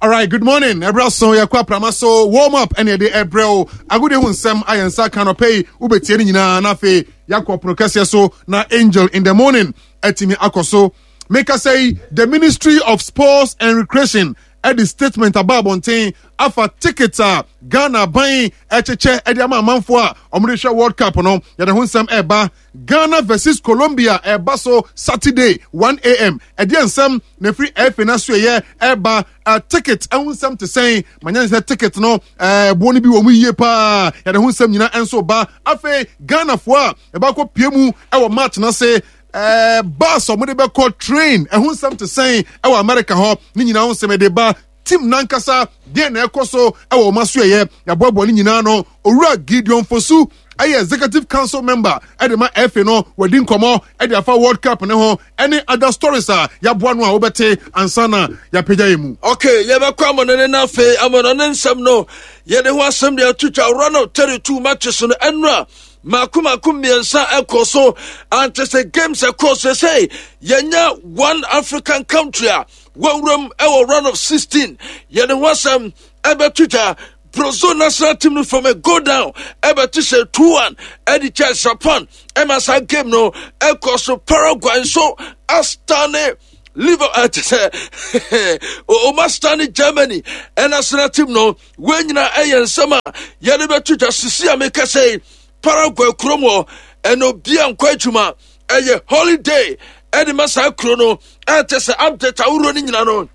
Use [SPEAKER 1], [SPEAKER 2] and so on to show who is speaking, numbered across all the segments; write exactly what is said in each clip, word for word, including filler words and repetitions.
[SPEAKER 1] All right, good morning. Ɛbrɛ so yɛkɔ aprama so warm up ɛne ɛde ɛbrɛ o. Agode ho nsɛm ayɛ nsa ka nɔpɛ yi, wobɛtie no nyinaa na afei yɛakɔ pono kɛseɛ so na Angel in the Morning atumi akɔ so. Meka sɛ yi, the Ministry of Sports and Recreation ɛde statement aba abɔnten afa ticket a Ghana ban ɛkyekyɛ ɛde ama amanfoɔ a wɔde hwɛ World Cup no. Yɛde ho nsɛm ɛba. Ghana versus Colombia ɛba so Saturday one a m. Ɛdeɛ nsɛm na ɛfiri ɛfɛ no so ɛyɛ ɛba uh, ticket ɛho nsɛm te sɛn manya sɛ ticket no ɛboɔ no bi wɔ mu yie paa. Yɛde ho nsɛm nyinaa ɛnso ba. Afei Ghanafoɔ a ɛbɛkɔ pie mu ɛwɔ match no ase, ɛɛ bus a wɔde bɛkɔ, train, ɛho nsɛm te sɛn ɛwɔ America hɔ? Ne nyinaa ho nsɛm ɛde ba. Team nankasa deɛ na ɛkɔ so ɛwɔ wɔn aso ɛyɛ yɛaboaboa ne nyinaa no. Owura Gideon Fosu ɛyɛ executive council member ɛde ma F A no, wɔdi nkɔmɔ ɛde afa World Cup ne ho ɛne other stories a yɛaboa no a wobɛte ansa na yɛapagya yɛ mu.
[SPEAKER 2] Okay, yɛbɛkɔ amɔno ne n'afei amɔno ne nsɛm no, yɛde ho asɛm de ato twa. Round of thirty-two matches no, ɛnora mako mako mmiɛnsa ɛkɔ so ante sɛ games ɛkɔ so sɛ yɛnya one African country a wɔwuram ɛwɔ round of sixteen. Yɛde ho asɛm ɛbɛto twa. Brazil national team no from a go down ɛbɛto sɛ two one ɛde kyɛ Japan ɛma saa game no ɛkɔ so. Paraguay nso astane Liverpool, ɛte sɛ ɔma stane Germany ɛnational team no. Wɔn nyinaa ɛyɛ nsɛm a yɛde bɛto dwa. Sisi a meka sɛ Paraguay kurom hɔ ɛna obia nkɔ adwuma, ɛyɛ holiday ɛde ma saa kuro no. Ɛte sɛ update ahoroɔ no nyina no,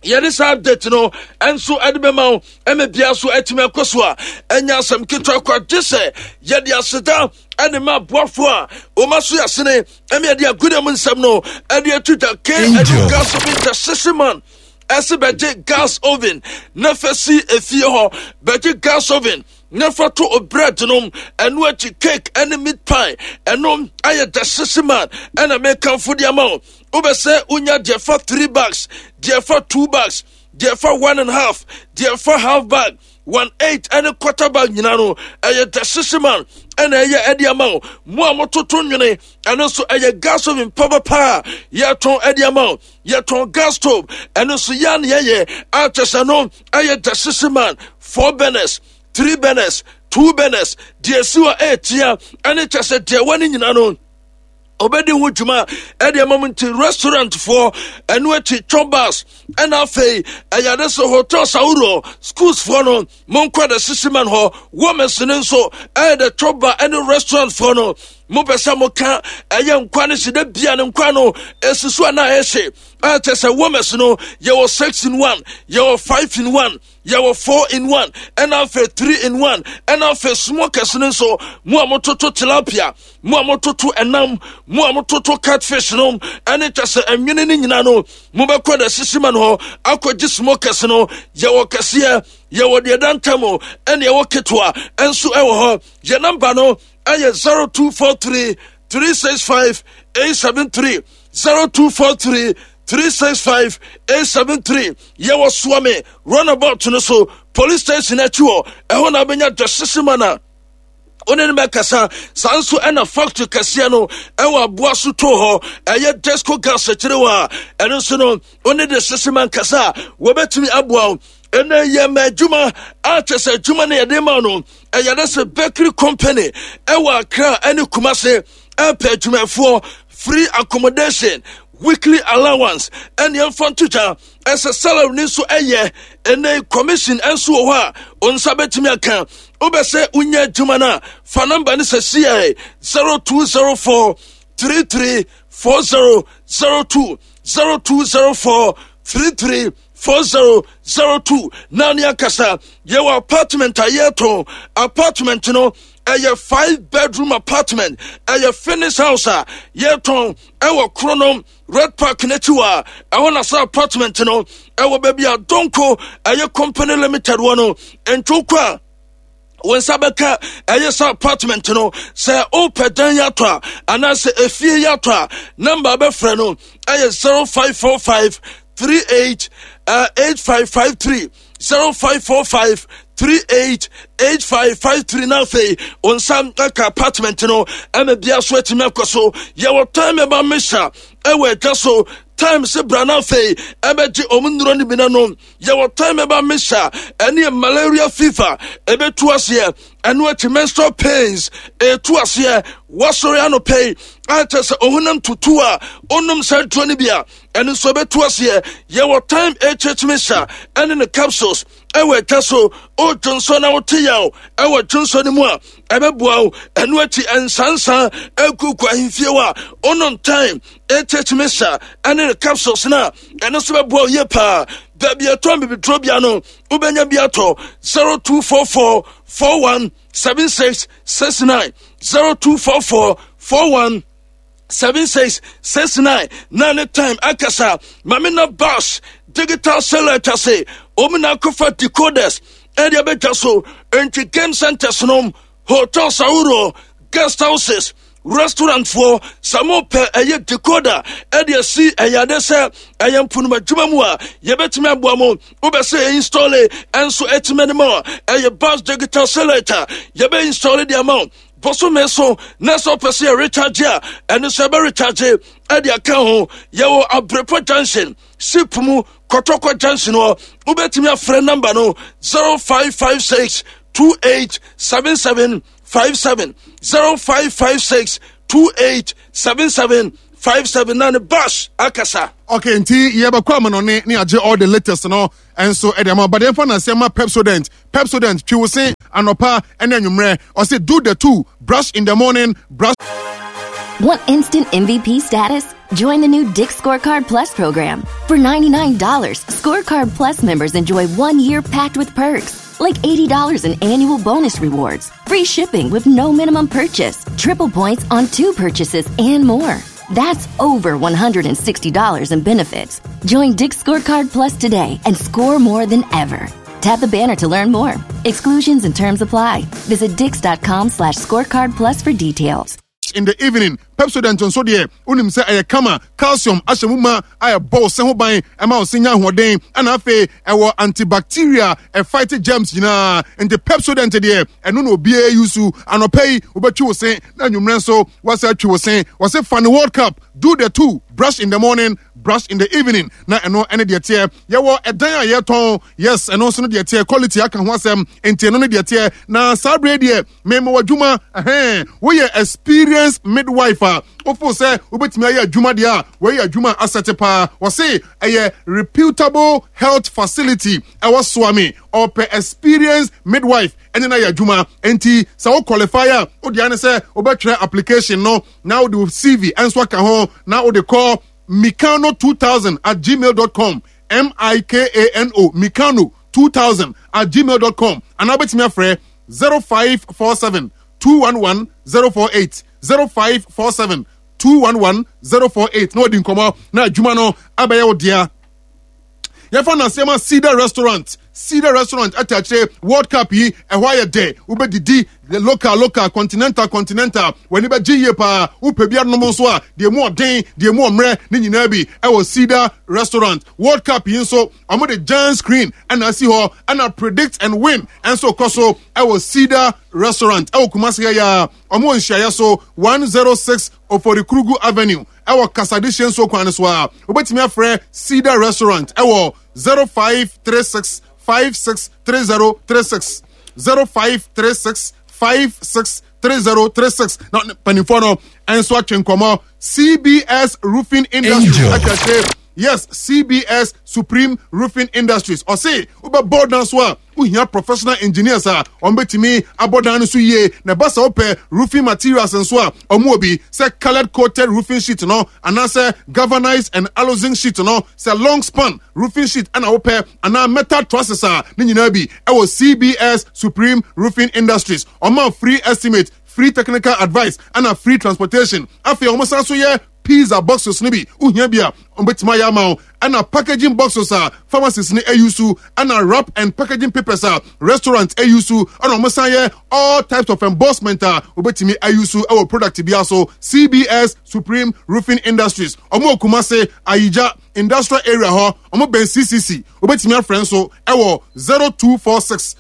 [SPEAKER 2] yɛde saa update no nso ɛde bɛma wo ɛma bia so atumi akɔ so a ɛnyɛ asɛm ketewa kɔ, gye sɛ yɛde aseda ɛde ma aboafoɔ a wɔma so yɛsene ɛma yɛde agudeɛ mu nsɛm no ɛde atu dwa. Ke ɛde gas oven the sisi man ɛsɛ bɛgye gas oven na fɛ si efie hɔ, bɛgye gas oven na fa to o bread nom, ɛno akyi cake ɛne meat pie. Ɛno ayɛ the sisi man ɛna mekamfo de ama wo. Wobɛ sɛ wonya deɛ fa three bags, deɛ fa two bags, deɛ fa one and a half, deɛ fa half bag, one eight ɛne quarter bag nyinaa no, ɛyɛ the sisi man ɛna ɛyɛ ɛde ama wo. Mo a mototo nwene, ɛno nso ɛyɛ gas oven papapa a yɛtɔn ɛde ama wo. Yɛtɔn gas stove, ɛno nso yɛa ne yɛyɛ akyɛ sɛ no ɛyɛ the sisi man. Four burners, three burners, two burners, deɛ si hɔ ɛɛtia ɛne kyɛ sɛ deɛ wɔ ne nyinaa no ɔbɛdi ho dwuma ɛde ama mu. Nti restaurant foɔ, ɛno akyi chop bars, ɛna afei ɛyɛ ade sɛ hotels ahoroɔ, schools foɔ no, monkɔ de sisi man hɔ. Wɔmɛs no nso ɛyɛ de chop bar ɛne restaurant foɔ no, mopɛ sɛ moka ɛyɛ nkwa no si da bia ne nkwa no ɛsi so a na ɛhye ɛkyɛ sɛ wɔmɛs no, yɛwɔ six in one, yɛwɔ five in one, yɛwɔ four in one, ɛna afei three in one, ɛna afei smokers no nso. Mo a mototo tilapia, mo a mototo ɛnam, mo a mototo catfish no ɛne kyɛ sɛ ɛnwene no nyinaa no, mobɛkɔ da sisi ma no hɔ akɔgye smokers no. Yɛwɔ kɛseɛ, yɛwɔ deɛ da ntam, ɛne ɛwɔ ketewa ɛnso ɛwɔ hɔ. Yɛ number no ɛyɛ zero two four three three six five eight seven three, zero two four three three six five eight seven three. Yɛwɔ Suame roundabout no so, police station akyi hɔ, ɛhɔ na abɛnya dwasese ma na wone no bɛkasa. Saa nso ɛna factory kɛseɛ no ɛwɔ aboa so too hɔ, ɛyɛ Desco Gas akyire hɔ a, ɛno nso no wone de sese ma nkasa a wɔbɛtumi aboa wo. Ɛnɛ yɛ ma adwuma a kyɛ sɛ adwuma no yɛde ma no ɛyɛ de sɛ bakery company ɛwɔ Accra ɛne Kumase ɛpɛ adwumayɛfoɔ, free accommodation, weekly allowance, ɛne ɛmfa nto dwa ɛsɛ salary ne nso ɛyɛ. Ɛnɛ commission ɛnso wɔ hɔ a wo nsa bɛtumi aka. Wobɛ sɛ wonya adwuma no a, fa number no sɛ cia zero two zero four three three four zero zero two, zero two zero four three three four zero zero two na ne akasa. Yɛwɔ apartment a yɛtɔn. Apartment no ɛyɛ five bedroom apartment, ɛyɛ finish house a yɛtɔn ɛwɔ Kronom Red Park n'akyi wɔ a ɛhɔ na sɛ apartment no ɛwɔ baabi a Donko ɛyɛ Company Limited wɔ no ntwokɔ a wɔn nsa bɛka ɛyɛ sɛ apartment no. Sɛ wopɛ dan yi atɔ a anaasɛ efie yi atɔ a, number bɛfrɛ no ɛyɛ zero five four five three eight uh, eight five five three, zero five four five three eight eight five five three. Na afei wɔn nsa aka apartment no ɛma bia so atumi akɔ so. Yɛwɔ time ɛba mesa ɛwɔ adwa so. Time sɛ bra no afei ɛbɛgye ɔmo nnuro no bi na nom. Yɛwɔ Time Herbal Mixture, ɛne yɛ malaria fever ɛbɛtu aseɛ. Ɛno akyi, menstrual pains ɛtu aseɛ. Wasɔre anɔpɛ yi akyɛ sɛ ɔhonam tutu a, ɔnom saa duro no bi a, ɛno nso ɛbɛtu aseɛ. Yɛwɔ Time H H Mixture ɛne ne capsules ɛwɔ atwa so. Ɔdwo nso na wote yaw ɛwɔ dwonsɔ no mu a, ɛbɛboa wo. Ɛno akyi, ɛnsansan ɛkuku ahemfie hɔ a, ɔnom Time H H Mixture ɛne ne capsules no a, ɛno nso bɛboa wo yie paa. Baabi ɛtɔn bibiduro bia no, wobɛnya bi atɔ. zero two four four four one seven six six nine, zero two four four four one seven six six nine na ne Time akasa. Maame na Bas Digital Satellite ase, wɔn na akɔfa decoders ɛde abɛtwa so. Nti game centers nom, hotels ahoroɔ, guest houses, restaurant foɔ, sɛ mopɛ ɛyɛ decoder ɛde asi ɛyɛ ade sɛ ɛyɛ mponoma adwuma mu a, yɛbɛtumi aboa mo. Wobɛ sɛ install ɛnso ɛtumi anim a, ɛyɛ Bas Digital Satellite a yɛbɛ install de ama wo bɔsome so. Na sɛ wopɛ sɛ yɛ recharge a, ɛno sɛ ɛbɛ recharge ɛde aka ho. Yɛwɔ Abrepɔ Junction, sip mu, Kɔtɔkɔ Junction hɔ. Wobɛtumi afrɛ number no zero five five six two eight seven seven five seven, zero five five six two eight seven seven five seven na ne Bash akasa.
[SPEAKER 1] Okay, nti yɛbɛkɔ amanɔne ne agye all the latest no ɛnso ɛde ama. But yɛmfa naseɛ ma Pepsodent. Pepsodent, twi wo se anɔpa ɛne anwummerɛ. Ɔse do the two, brush in the morning, brush
[SPEAKER 3] Want instant M V P status? Join the new Dick's Scorecard Plus program. For ninety-nine dollars, Scorecard Plus members enjoy one year packed with perks, like eighty dollars in annual bonus rewards, free shipping with no minimum purchase, triple points on two purchases, and more. That's over one hundred sixty dollars in benefits. Join Dick's Scorecard Plus today and score more than ever. Tap the banner to learn more. Exclusions and terms apply. Visit dicks dot com slash scorecard plus for details.
[SPEAKER 1] In the evening. Pepsodent nso deɛ, wonim sɛ ɛyɛ kama, calcium ahyɛ mu ma a ɛbɔ wo se ho ban, ɛma wo se nya ahoɔden, ɛna afei ɛwɔ antibacteria, ɛfight germs nyinaa. Nti Pepsodent deɛ, ɛno na obiara yi so. Anɔpa yi wobɛtwi wo se, na anwummerɛ nso wɔsɛ atwi wo se. Wɔse fa ne World Cup, do the two, brush in the morning, brush in the evening. Na ɛno ɛne deɛ teɛ. Yɛwɔ ɛdan a yɛtɔn, yes, ɛno nso no deɛ teɛ, quality aka ho asɛm, nti ɛno no deɛ teɛ. Na saa bere deɛ, mema w'adwuma ɛhɛn, woyɛ experienced midwife a wofo sɛ wobɛtumi ayɛ adwuma deɛ a, wɔyɛ adwuma asɛte paa. Wɔse ɛyɛ reputable health facility ɛwɔ Soame, ɔpɛ experienced midwife ɛne no ayɛ adwuma. Nti sɛ wo qualify a, wode ane sɛ wobɛtwerɛ application no na wode wo C V ɛnso aka ho na wode kɔ mikano two thousand at gmail dot com, M I K A N O, mikano two thousand at gmail dot com, anaa wobɛtumi afrɛ zero five four seven two one one zero four eight, zero five four seven two one one zero four eight na wɔdi nkɔmmɔ na adwuma no abɛyɛ wo dea. Yɛfa nasɛm a Cedar Restaurant. Cedar Restaurant ata akyire, World Cup yi ɛhɔ ayɛ dɛ. Wobɛdidi local local, continental continental, w'ani bɛgye yie paa. Wopɛ bi anom nso a, deɛ mu ɔden, deɛ mu ɔmmerɛ ne nyinaa bi ɛwɔ Cedar Restaurant. World Cup yi nso, wɔde giant screen ɛna asi hɔ, ɛna predict and win ɛnso kɔ so ɛwɔ Cedar Restaurant ɛwɔ Kumasi ha yi a wɔn wɔ nhyiaeɛ so, one zero six Oforikrugu Avenue, ɛwɔ Kasadehye nsuo kwan no so a, wobɛtumi afrɛ Cedar Restaurant ɛwɔ zero five three six five six three zero three six, zero five three six five six three zero three six. Na mpanimfoɔ no ɛnso atwe nkɔmmɔ. C B S Roofing Industries akɛse, yes, C B S Supreme Roofing Industries, ɔse wobɛbɔ dan so a, wohia professional engineers a wɔn bɛtumi abɔ dan no so yie. Na ɛba sɛ wopɛ roofing materials nso a, wɔn wɔ bi sɛ coloured coated roofing sheet no, anaasɛ galvanized and aluzinc sheet no, sɛ long span roofing sheet ɛna wopɛ, anaa metal trusses a, ne nyinaa bi ɛwɔ C B S Supreme Roofing Industries. Wɔn a free estimate, free technical advice, ɛna free transportation. Afei wɔn san so yɛ pizza boxes no bi. Wohia bi a, wɔbɛtumi ayɛ ama wo, ɛna packaging boxes a pharmacies no ayi so, ɛna wrap and packaging papers a restaurant ayi so, ɛna wɔn san yɛ all types of embossment a wɔbɛtumi ayi so ɛwɔ product bi so. C B S Supreme Roofing Industries, wɔn wɔ Kumase Ayigya Industrial Area hɔ, wɔn bɛn C C C. Wɔbɛtumi afrɛ nso ɛwɔ zero two four six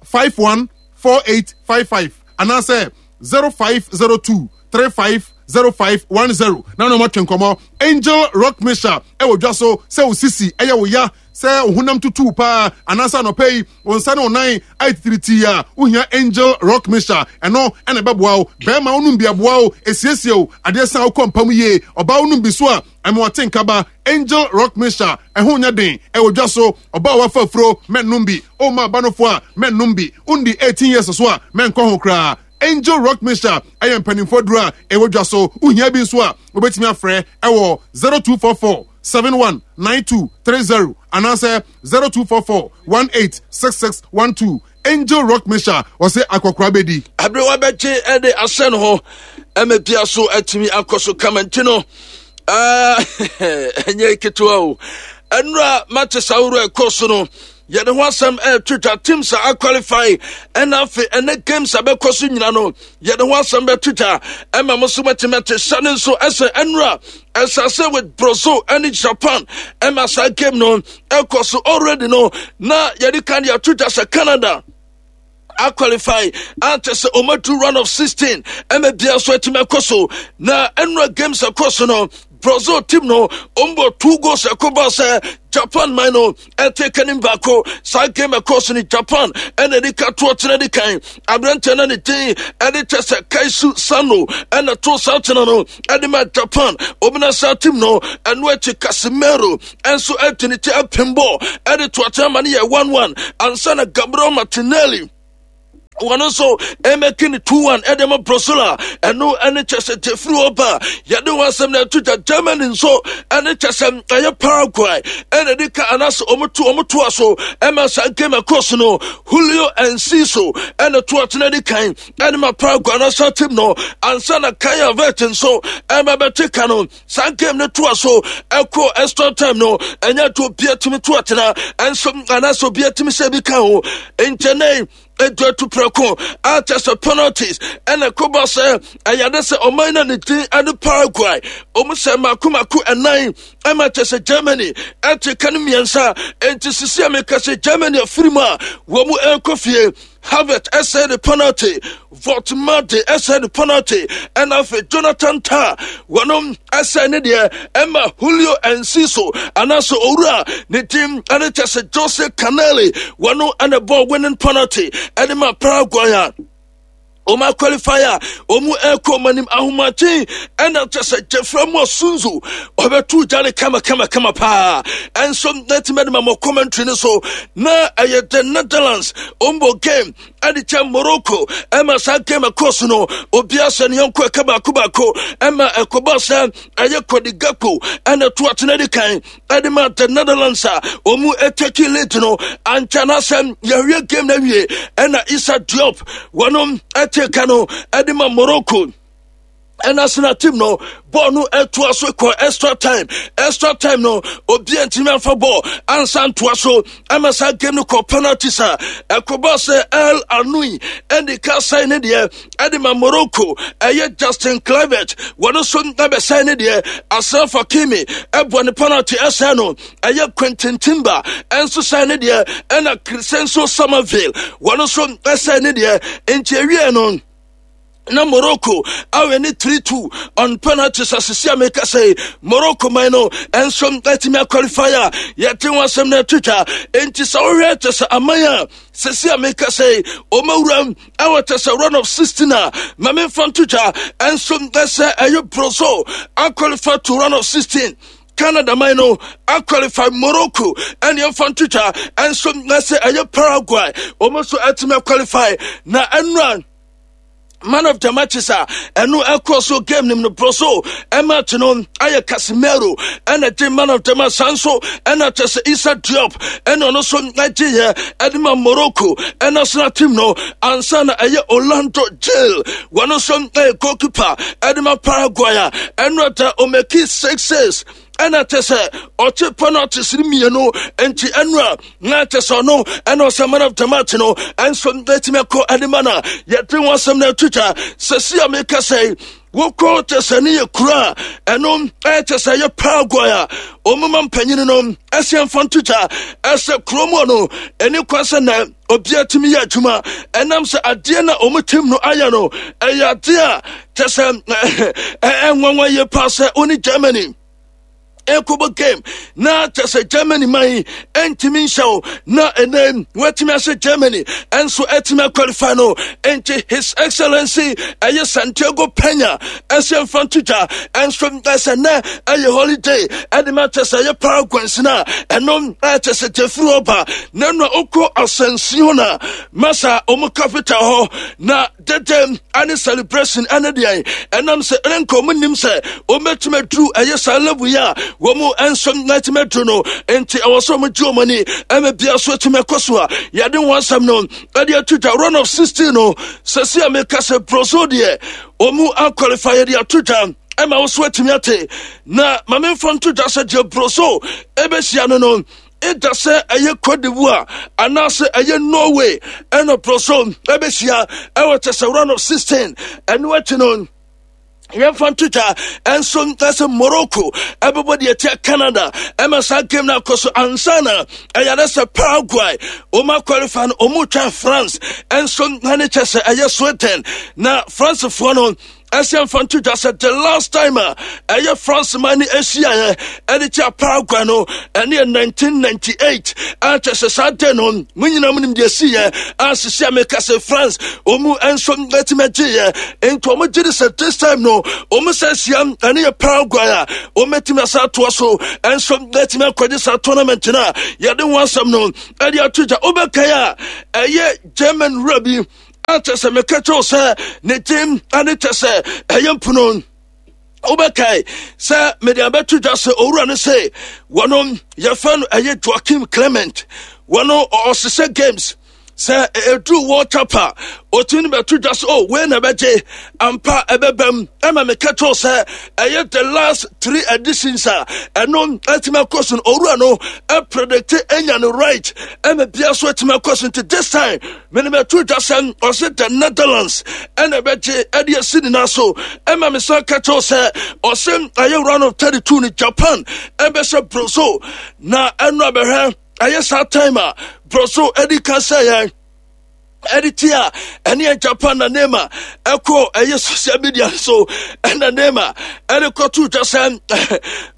[SPEAKER 1] five one four eight five five anaasɛ zero five zero two three five zero five one zero na na ɔmatwe nkɔmmɔ. Angel Rock Mixture ɛwɔ dwa so sɛ wo sisi ɛyɛ wo ya, sɛ wo honam tutu paa, anaasɛ anɔpɛ yi wo nsa ne wo nan ayɛ titiritii a, wohia Angel Rock Mixture. Ɛno ɛna ɛbɛboa wo. Bɛrima, wonom bi, aboa wo, esiesie wo adeɛ san wokɔ mpam yie. Ɔbaa, wonom bi so a, ɛma wɔte nkaba. Angel Rock Mixture ɛho nyɛ den, ɛwɔ dwa so. Ɔbaa wafa afuro, mɛnnom bi. Ɔma abanofo a, mɛnnom bi. Wondi eighteen years so a, mɛnkɔ ho koraa. Angel Rock Mixture ɛyɛ mpanimfoɔ duro a ɛwɔ dwa so. Wohia bi nso a, wobɛtumi afrɛ ɛwɔ zero two four four seven one nine two three zero anaasɛ zero two four four one eight six six one two. Angel Rock Mixture, ɔsɛ akɔkora bɛdi.
[SPEAKER 2] Aberewa bɛgye ɛde asɛ no hɔ ɛma bia so atumi akɔ so kama. Nti no ɛnyɛ ketewa o. Ɛnura matches ahorow ɛkɔ so no, yɛde ho asɛm ɛɛto twa. Teams a aqualify ɛna afei ɛnɛ games a bɛkɔ so nyina no, yɛde ho asɛm bɛto twa ɛma mo so mɛtumi ate hyɛ ne nso. Ɛsɛ ɛnura ɛsase with Brazil ɛne Japan ɛma saa game no ɛkɔ so already no, na yɛde kan de ato twa sɛ Canada aqualify ante sɛ ɔmatu round of sixteen ɛma bia so atumi akɔ so. Na ɛnura games ɛkɔ so no, Brazil team no ɔmbɔ two goals ɛkɔba sɛ Japan man no ɛte kanim baako. Saa game ɛkɔ so no, Japan ɛna ɛde ka toɔ tena de kan. Aberanteɛ no ne din ɛde kyɛ sɛ Kaisu Sano ɛna to saa tena no ɛde ma Japan ɔmuna saa team no. Ɛno akyi Casemiro ɛnso ɛde ne ti apem bɔ ɛde to atena ma no yɛ one one ansa na Gabriel Martinelli wɔn nso ɛmɛki ne two one ɛde ma Brazil a ɛno ɛne kyɛ sɛ jefiri hɔ ba. Yɛde wɔn asɛm na ɛto gya. Germany nso ɛne kyɛ sɛ ɛyɛ Paraguay ɛna ɛde ka anaasɛ wɔn to wɔn toa so ɛma saa game ɛkɔ so no, Julio Enciso ɛna to atena de kan ɛne ma Paraguay national team no ansa na Kai Havertz nso ɛma bɛte ka no. Saa game no toa so ɛkɔ extra time no, ɛnyɛ to obi atumi to atena ɛnso anaasɛ obi atumi sɛ bi ka ho nkyɛnɛ edu atu prɛko akyɛ sɛ penalties ɛna koba sɛ ɛyɛde sɛ ɔman no ne din ɛne Paraguay. Ɔmu sɛ mako mako ɛnan ɛma kyɛ sɛ Germany ɛte ka no mmiɛnsa. Enti sisi a meka sɛ Germany afiri mu a wɔn mu ɛrekɔ fie. Havertz ɛsɛ de penalty, Woltemade ɛsɛ de penalty, ɛna afei Jonathan Tah wɔnom ɛsɛ ne deɛ ɛma Julio Enciso anaasɛ owura ne din ɛne kyɛ sɛ Jose Canelli wɔno ɛna bɔ winning penalty ɛde ma Paraguay a ɔmo qualify a ɔmo ɛkɔ ɔmo anim. Ahomakyen ɛna kyɛ sɛ Jeffrey mu asunzu ɔbɛtu gya ne kama kama kama paa. Ɛnso n'atumi ɛde ma mo commentary no so na ɛyɛ the Netherlands ɔmbɔ game ɛde kyɛ Morocco ɛma saa game ɛkɔ so no, obiara sɛ ne yɔnko ɛka baako baako ɛma ɛkɔba sɛ ɛyɛ Cody Gakpo ɛna to atena di kan ɛde ma the Netherlands a ɔmu ɛtake lead no. Ankyɛ na sɛ yɛhwɛ game no awie ɛna Issa Diop wɔnom ɛte ka no ɛde ma Morocco ɛna sena team no bɔɔl no ɛtoa so kɔ extra time. Extra time no, obiara ntumi amfa bɔɔl ansa ntoa so ɛma saa game no kɔ penalties a ɛkɔba sɛ El Aynaoui ɛde ka sɛn ne deɛ ɛde ma Morocco. Ɛyɛ Justin Kluivert wɔn nso ɛbɛsɛn ne deɛ. Achraf Hakimi ɛbɔ ne penalty ɛsɛn no. Ɛyɛ Quinten Timber ɛnso sɛn ne deɛ, ɛna Crysencio Summerville wɔn nso ɛsɛn ne deɛ. Nti ewie no na Morocco awɛ ne three two on penalties. Asisi a meka sɛ Morocco man no ɛnso atumi aqualify a yɛte ho asɛm no atwitwa. Enti sɛ wohwɛ kyɛ sɛ aman a sɛsi a meka sɛ ɔmawuram ɛwɔ kyɛ sɛ round of sixteen a, ma memfa ntotwa ɛnso ɛsɛ ɛyɛ Brazil aqualify to round of sixteen, Canada man no aqualify, Morocco ɛne ɛmfa ntotwa ɛnso ɛsɛ ɛyɛ Paraguay wɔn nso atumi aqualify. Na ɛnura man of the matches a ɛno ɛkɔ so game nim no bro so ɛmatch no ayɛ Casemiro ɛna gye man of the match. San so ɛna kyɛ sɛ Issa Diop ɛna ɔno nso agye yɛ ɛde ma Morocco ɛna team no ansa na ɛyɛ Orlando Gil wɔn nso ɛyɛ goalkeeper ɛde ma Paraguay a ɛno ɛda ɔmake six six. Ɛna kyɛ sɛ ɔkye penalties no mmienu, nti ɛno a na kyɛ sɛ ɔno ɛna ɔsɛ man of the match no ɛnso ɛtumi akɔ ɛde ma no. Yɛde ho asɛm no ato twa. Sɛsi a meka sɛ wokɔ kyɛ sɛ ne yɛ kuro a ɛno ɛkyɛ sɛ yɛ Paraguay a ɔmoma mpanyini no ɛsɛ mfa nto twa ɛsɛ kurom no ɛne kwan sɛ na obiara tumi yɛ adwuma, ɛnam sɛ adeɛ na ɔmo team no ayɛ no ɛyɛ adeɛ a kyɛ sɛ ɛnwanwa yie paa sɛ ɔne Germany ɛkɔbɔ game na kyɛ sɛ Germany man ɛntumi nhyɛ wo, na ɛnɛ wɔatumi ahyɛ Germany ɛnso ɛtumi aqualify no. Enti His Excellency ɛyɛ Santiago Pena ɛsɛ mfa nto dwa ɛnso ɛsɛ nɛ ɛyɛ holiday ɛde ma kyɛ sɛ ɛyɛ Paraguay no a ɛno ɛkyɛ sɛ gyefiri ɔba na ɛno a wokɔ Asunción no a masa ɔmo capital hɔ na dede ane celebration ɛne deɛ ɛnam sɛ ɛne nka ɔmo nim sɛ ɔmɛtumi aduru ɛyɛ saa level yi a wɔn nso ɛtumi aduru no. Nti ɛwɔ sɛ ɔmo gye ɔmo ani ɛmɛ bia so ɛtumi ɛkɔ so a yɛde wɔn asɛm no ɛde ato dwa. Round of sixteen no, sɛsi a meka sɛ Brazil deɛ ɔmo aqualify, yɛde ato dwa ɛma wo so atumi ate. Na maame mfa nto dwa sɛ deɛ Brazil ɛbɛhyia no no ɛda sɛ ɛyɛ Cote d'Ivoire anaasɛ ɛyɛ Norway ɛna Brazil ɛbɛhyia ɛwɔ kyɛ sɛ round of sixteen. Ɛno akyi no, yɛmfa nto dwa ɛnso ɛsɛ Morocco ɛbɛbɔ deɛ tia Canada ɛma saa game no akɔ so ansa na ɛyɛ sɛ Paraguay ɔma qualify no, ɔmu twa France ɛnso ɛne kyɛ sɛ ɛyɛ Sweden. Na Francefoɔ no ɛsɛ mfa nto dwa sɛ the last time a ɛyɛ France ma ne ahyiaeɛ ɛde kyɛ Paraguay no ɛne yɛ nineteen ninety-eight, a kyɛ sɛ saa de no mo nyinaa mo nim deɛ siiɛ a sisi a meka sɛ France ɔmu nso atumi agyeeɛ. Nti ɔmo gye de sɛ this time no ɔmo sɛ ahyia ɛne yɛ Paraguay a ɔmɛtumi asa atoa so ɛnso atumi akɔgye saa tournament no a yɛde ho asɛm no ɛde ato gya. Wobɛkae a ɛyɛ German wura bi a kyɛ sɛ meka kyɛw sɛ ne din ane kyɛ sɛ ɛyɛ mpono. Wobɛkae sɛ mede abɛto dwa sɛ owura no sɛ wɔno yɛfrɛ no ɛyɛ Joaquim Clement. Wɔno ɔhyehyɛ games sɛ ɛduru World Cup a ɔtumi no bɛto dwa sɛ o wei na ɛbɛgye ampa ɛbɛbam. Ɛma meka kyɛw sɛ ɛyɛ the last three editions a ɛno atumi akɔ so no, owura no ɛpredict anya no right ɛma bia so atumi akɔ so. Nti this time mene bɛto dwa sɛ ɔse the Netherlands ɛna ɛbɛgye ɛde asi ne nan so. Ɛma me san ka kyɛw sɛ ɔse ɛyɛ round of thirty-two no, Japan ɛbɛhyɛ Brazil na ɛno abɛhwɛ ɛyɛ saa time a Brazil ɛdi ka sɛ yɛn ɛde ti a ɛne yɛ Japan. Na Neymar ɛkɔ ɛyɛ social media so ɛna Neymar ɛde kɔto dwa sɛ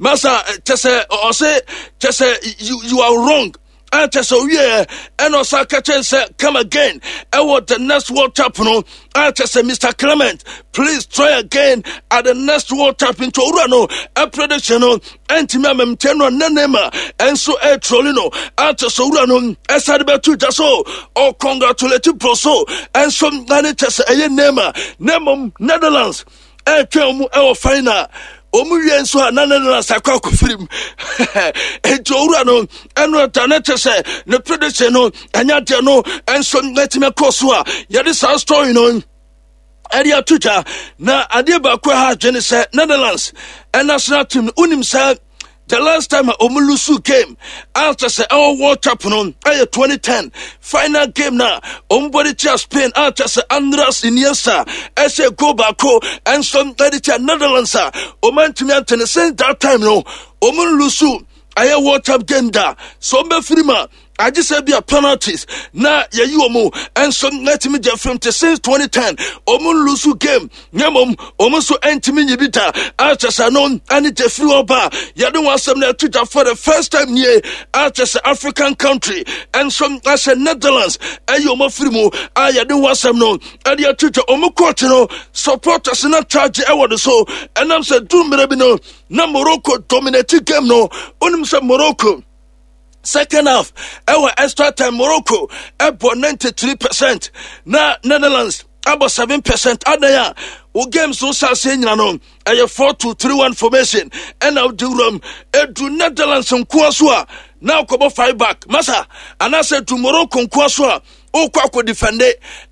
[SPEAKER 2] masa kyɛ sɛ ɔse kyɛ sɛ you, you are wrong." Ɛkyɛ sɛ owie ɛna ɔsa ka kyɛn sɛ come again ɛwɔ the next World Cup no. Ɛkyɛ sɛ "Mister Clement, please try again at the next World Cup." Nti owura no ɛprediction no ɛntumi amamkyɛn no ne Neymar ɛnso ɛtroli no. Ɛkyɛ sɛ owura no ɛsade bɛto dwa so ɔcongratulate Brazil ɛnso ɛne kyɛ sɛ ɛyɛ Neymar, na mmom Netherlands ɛretwɛn mu ɛwɔ final. Wɔn wie nso a na Netherlands akɔ akɔfiri mu. Nti owura no ɛno ɛda ne kyɛ sɛ ne prediction no ɛnyɛ adeɛ no ɛnso ɛtumi akɔ so a yɛde saa story no ɛde ato dwa. Na adeɛ baako a ha adwene sɛ Netherlands national team no, wonim sɛ the last time a ɔmo lose game a kyɛ sɛ ɛwɔ World Cup no ɛyɛ twenty ten final game na ɔmo bɔde tia Spain a kyɛ sɛ Andres Iniesta ɛhyɛ goal baako ɛnso ɛde tia Netherlands a ɔmo antumi antene. Since that time no ɔmo lose ɛyɛ World Cup game da so ɔmo bɛfiri mu a agye sɛ bi a penalties na yɛyi wɔn mu ɛnso ɛtumi gye fam te. Since twenty ten wɔn lose game nyɛ mmom wɔn nso ɛntumi nyi bi da akyɛ sɛ no ɛne gye firi hɔ ba. Yɛde wɔn asɛm na ɛto dwa for the first time nie akyɛ sɛ African country ɛnso ahyɛ Netherlands ɛyɛ wɔn afiri mu a yɛde wɔn asɛm no ɛde ato dwa. Wɔn coach no, supporters na charge ɛwɔ ne so ɛnam sɛ du mmerɛ bi no na Morocco dominate game no. Onim sɛ Morocco second half ɛwɔ extra time Morocco ɛbɔ ninety-three percent na Netherlands abɔ seven percent. Adan a wo games wo hyɛ nyina no ɛyɛ four two three one formation ɛna wode wuram ɛdu Netherlands nkoa so a na wokɔbɔ five back masa, anaasɛ du Morocco nkoa so a wokɔ akɔ defend.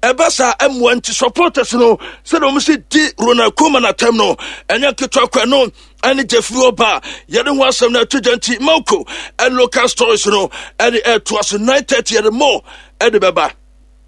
[SPEAKER 2] Ɛba saa ɛmmoa. Nti supporters no sɛdeɛ wɔn si di Ronald Koeman atɛm no ɛnyɛ ketewa kɔ. Ɛno Ɛne Jeffrey ɔba yɛde ho asɛm no ato gya. Nti Mako ɛne local stories no ɛde ɛtoa so nine thirty, yɛde more ɛde bɛba.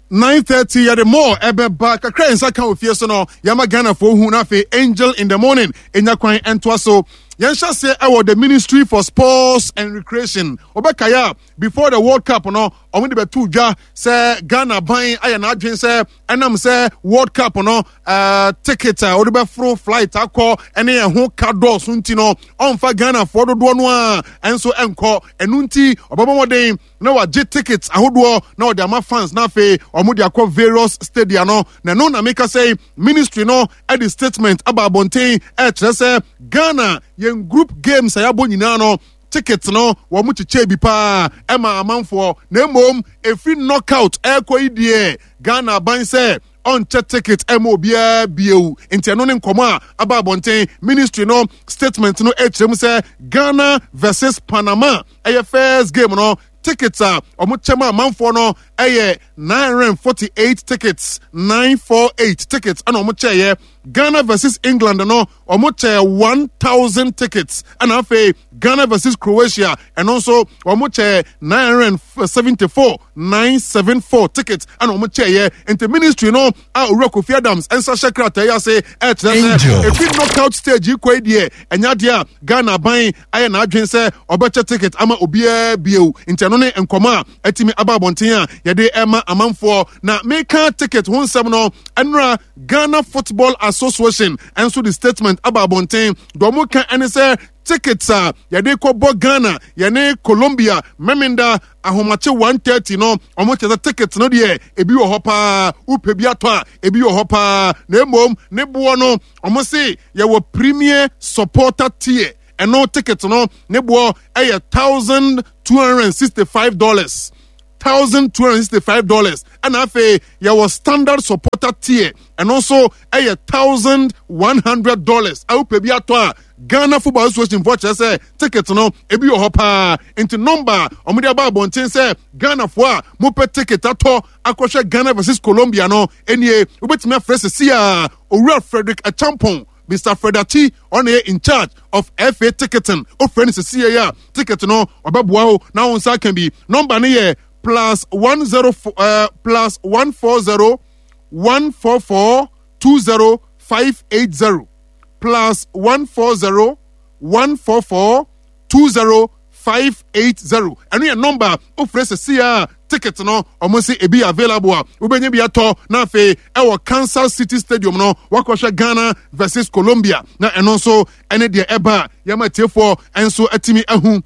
[SPEAKER 1] nine thirty yɛde more ɛbɛba. Kakra yɛn nsa ka wɔ fie so no, yɛma Ghanafoɔ hu, na afei Angel in the Morning ɛnya kwan ɛntoa so. Yɛnhyɛ aseɛ ɛwɔ the Ministry for Sports and Recreation. Wɔbɛkaeɛ a, before the World Cup no, ɔmo de bɛto dwa sɛ Ghana ban ayɛ n'adwene sɛ ɛnam sɛ World Cup no uh, ticket a wɔde bɛforo flight akɔ ɛne ɛho ka dɔɔso nti no, ɔmfa Ghanafoɔ dodoɔ no a ɛnso ɛnkɔ. Ɛno nti ɔbɛbɔ mmɔden na wagye tickets ahodoɔ na ɔde ama fans, na afei ɔmo de akɔ various stadia no. Na ɛno na meka sɛ ministry no ɛde statement aba abɔnten ɛkyerɛ sɛ Ghana yɛn group games a yɛabɔ nyinaa no, ticket no wɔn kyekyɛ bi paa ɛma amanfoɔ, na mmom efiri knockout ɛrekɔ yi deɛ, Ghana aban sɛ ɔnkyɛ ticket ɛma obiara bio. Nti ɛno ne nkɔmɔ a aba abɔnten. Ministry no statement no ɛkyerɛ mu sɛ Ghana versus Panama ɛyɛ first game no, tickets a wɔn kyɛ ma amanfoɔ no ɛyɛ nine hundred and forty eight tickets, nine four eight tickets ɛna wɔn kyɛɛyɛ. Ghana versus England no, wɔn kyɛ one thousand tickets, ɛna afei Ghana versus Croatia, ɛno nso wɔn kyɛ nine hundred and seventy four, nine seven four tickets ɛna wɔn kyɛɛyɛ. Nti ministry no a Owura Kofi Adams nsa hyɛ krataa yi ase ɛkyerɛ sɛ efi knockout stage yi kɔ yi deɛ, ɛnya deɛ a Ghana aban ayɛ n'adwene sɛ ɔbɛkyɛ ticket ama obiara bio. Nti ɛno ne nkɔmɔ a ɛtumi aba abɔnten a yɛde ɛma amanfoɔ. Na meka ticket ho nsɛm no, ɛnora Ghana Football Association ɛnso de statement aba abɔnten. Deɛ ɔmo ka ɛne sɛ tickets a yɛde kɔbɔ Ghana yɛne Colombia Memenda ahomakye one thirty no, ɔmo kyerɛ sɛ ticket no deɛ, ebi wɔ hɔ paa. Wopɛ bi atɔ a, ebi wɔ hɔ paa, na mmom ne boɔ no, ɔmo se yɛwɔ premier supporter tier, ɛno ticket no ne boɔ ɛyɛ thousand two hundred and sixty five dollars, thousand two hundred sixty five dollars. Ɛna afei yɛwɔ standard supporter tier, ɛno nso ɛyɛ thousand one hundred dollars. A wopɛ bi atɔ a, Ghana Football Association foɔ kyerɛ sɛ ticket no ebi wɔ hɔ paa. Nti number a wɔde aba abɔnten sɛ Ghanafoɔ a mopɛ ticket atɔ akɔhwɛ Ghana versus Colombia no nie: wobɛtumi afrɛ sisi a Owura Frederick Achampong, Mister Fred Ati, ɔno yɛ in charge of F A ticketing. Ofrɛ no sisi yɛ a, ticket no ɔbɛboa wo na wo nsa aka bi. Number no yɛ plus one zero four uh, plus one four zero one four four two zero five eight zero, plus one four zero one four four two zero five eight zero. Ɛno yɛ number ofurɛ sisi a ticket no ɔmo nsi ebi available a wobɛnya bi atɔ, na afei ɛwɔ Kansas City Stadium no wakɔhwɛ Ghana versus Colombia. Na ɛno nso ɛne deɛ ɛba a yɛma tiefoɔ nso atumi ahu.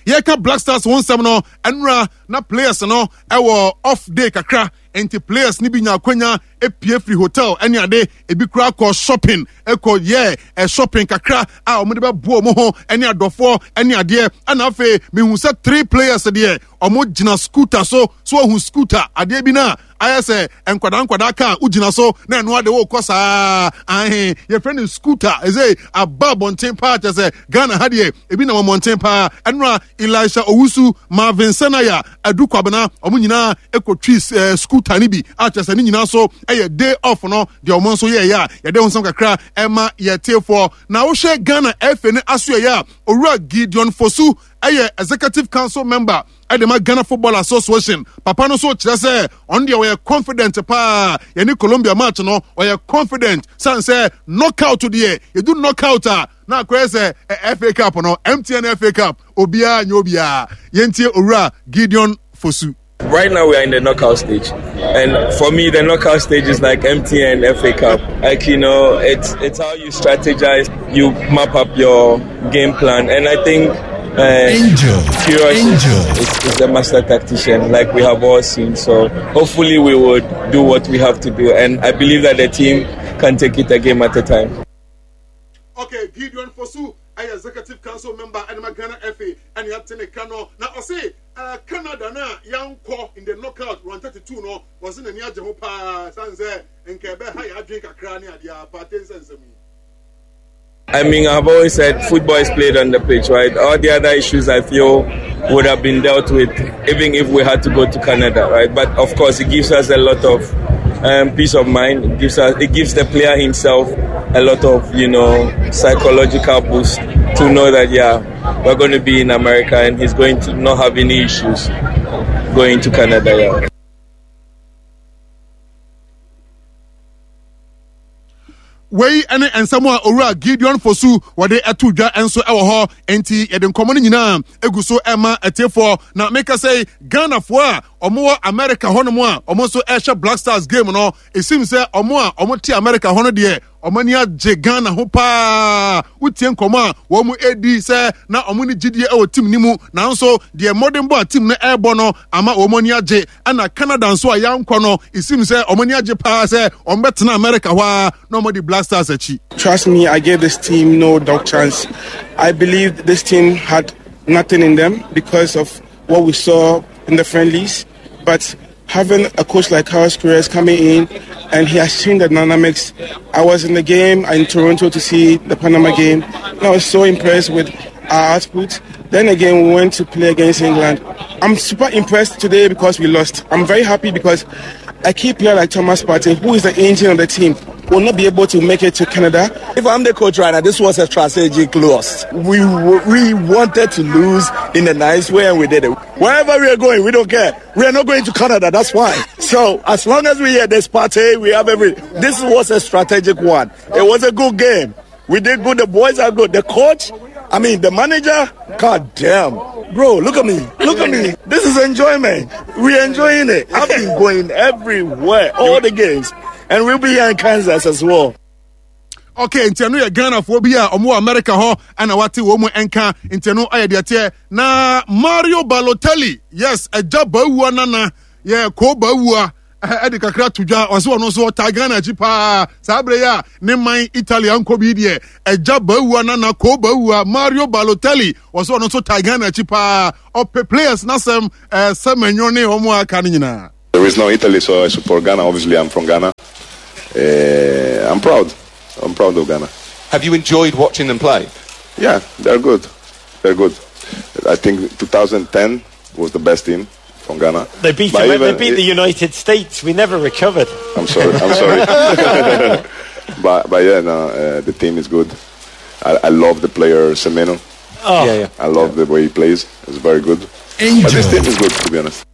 [SPEAKER 1] Yɛka Black Stars ho nsɛm no, ɛnura na players no ɛwɔ off day kakra, nti players no bi nya akwanya epie firi hotel ɛne ade, ebi kura kɔ shopping, ɛkɔ yɛ ɛ shopping kakra a wɔn de bɛboa wɔn ho ɛne adɔfoɔ ɛne adeɛ. Ɛna afei mihu sɛ three players deɛ, wɔn gyina scooter so so ohun scooter adeɛ bi na ayɛ sɛ nkwadaa nkwadaa kaa wogyina so na ɛno ade wokɔ saa ahe, yɛfrɛ no scooter. Ɛsɛ aba abɔnten paa, kyɛ sɛ Ghana ha deɛ ebi nam abɔnten paa. Ɛnora Elisha Owusu, Marvin Senaya, Adu Kwabena, ɔmo nyinaa ɛkɔtwi ɛɛ scooter no bi a kyerɛ sɛ ne nyinaa so ɛyɛ day off no deɛ, ɔmo nso yɛɛyɛ a yɛde ho nsɛm kakra ɛma yɛtiefoɔ. Na wohwɛ Ghana F A ne aso yɛ a, Owura Gideon Fosu ɛyɛ executive council member ɛde ma Ghana Football Association. Papa no nso kyerɛ sɛ ɔno deɛ ɔyɛ confident paa, yɛne Colombia match no ɔyɛ confident san sɛ knockout deɛ, yɛdu knockout a na akɔyɛ sɛ F A Cup no, M T N F A Cup, obiara nyɛ obiara. Yɛntie Owura Gideon Fosu.
[SPEAKER 4] Right now we are in the knockout stage, and for me the knockout stage is like M T N F A Cup. Like, you know, it's it's how you strategize, you map up your game plan, and I think uh,
[SPEAKER 5] Angel,
[SPEAKER 4] Queiroz
[SPEAKER 5] Angel.
[SPEAKER 4] Is, is, is the master tactician, like we have all seen. So hopefully we would do what we have to do, and I believe that the team can take it a game at a time.
[SPEAKER 1] Okay, Gideon Fosu ɛyɛ executive council member ɛne ma Ghana F A, ɛne ate ne ka no. Na ɔse uh, Canada na yankɔ in the knockout round thirty-two no, wɔse n'ani agye ho paa san sɛ nka ɛbɛha yɛ adwene kakra ne adeɛ apaate nsɛnsɛm yi.
[SPEAKER 4] I mean, I've always said football is played on the pitch, right? All the other issues, I feel, would have been dealt with even if we had to go to Canada, right? But of course, it gives us a lot of um, peace of mind. It gives us, it gives the player himself a lot of, you know, psychological boost to know that, yeah, we're going to be in America and he's going to not have any issues going to Canada. Yeah.
[SPEAKER 1] Wei ne nsɛm a Owura Gideon Fosu wɔde ɛto dwa nso wɔ hɔ. Nti yɛde nkɔmmɔ no nyinaa egu so ɛma atiefoɔ. Na meka sɛ Ghanafoɔ a wɔwɔ America hɔnom a wɔn nso ɛhyɛ Black Stars game no, esim sɛ wɔn a wɔte America hɔ no deɛ, wɔn ani agye Ghana ho paa. Wotie nkɔmmɔ a wɔn edi sɛ na wɔn ne gyidie wɔ team no mu, nanso deɛ mmɔdenbɔ a team no ɛrebɔ no ama wɔn ani agye. Ɛna Canada nso a yɛankɔ no, esim sɛ wɔn ani agye paa sɛ wɔn bɛtena America hɔ a na wɔn di Black Stars akyi.
[SPEAKER 5] Trust me, I gave this team no dog chance. I believe this team had nothing in them because of what we saw in the friendlies. But having a coach like Carlos Queiroz coming in, and he has changed the dynamics. I was in the game in Toronto to see the Panama game, and I was so impressed with our output. Then again, we went to play against England. I'm super impressed today because we lost. I'm very happy because a key player like Thomas Partey, who is the engine of the team, will not be able to make it to Canada.
[SPEAKER 6] If I'm the coach right now, this was a strategic loss. We, we wanted to lose in a nice way, and we did it. Wherever we are going, we don't care. We are not going to Canada, that's fine. So as long as we hear this party, we have every... This was a strategic one. It was a good game. We did good. The boys are good. The coach, I mean, the manager, God damn. Bro, look at me. Look at me. This is enjoyment. We're enjoying it. I've been going everywhere, all the games. And we'll be here in Kansas as well.
[SPEAKER 1] Okay, nti eno ye Ghana fo bi a omo America ho ana wate wo mu enka nti eno aye de tie na Mario Balotelli, yes, eja bawua nana ye ko bawua e de kakra tudwa ɔse ɔno so ɔta Ghana akyi paa saa bere ya ne man Italy anko bi deɛ eja bawua nana ko bawua Mario Balotelli ɔse ɔno so ta Ghana akyi paa ɔpɛ players nasɛm eh sɛmenyo ne ɔmo aka ne nyinaa.
[SPEAKER 7] There is no Italy, so I support Ghana. Obviously, I'm from Ghana. Uh, I'm proud. I'm proud of Ghana.
[SPEAKER 8] Have you enjoyed watching them play?
[SPEAKER 7] Yeah, they're good. They're good. I think two thousand ten was the best team from Ghana.
[SPEAKER 9] They beat, the, they beat the United States. We never recovered.
[SPEAKER 7] I'm sorry. I'm sorry. but, but yeah, no, uh, the team is good. I, I love the player Semenyo.
[SPEAKER 9] Oh.
[SPEAKER 8] Yeah, yeah.
[SPEAKER 7] I love the way he plays. It's very good.
[SPEAKER 1] Angel.
[SPEAKER 7] But this team is good, to be honest.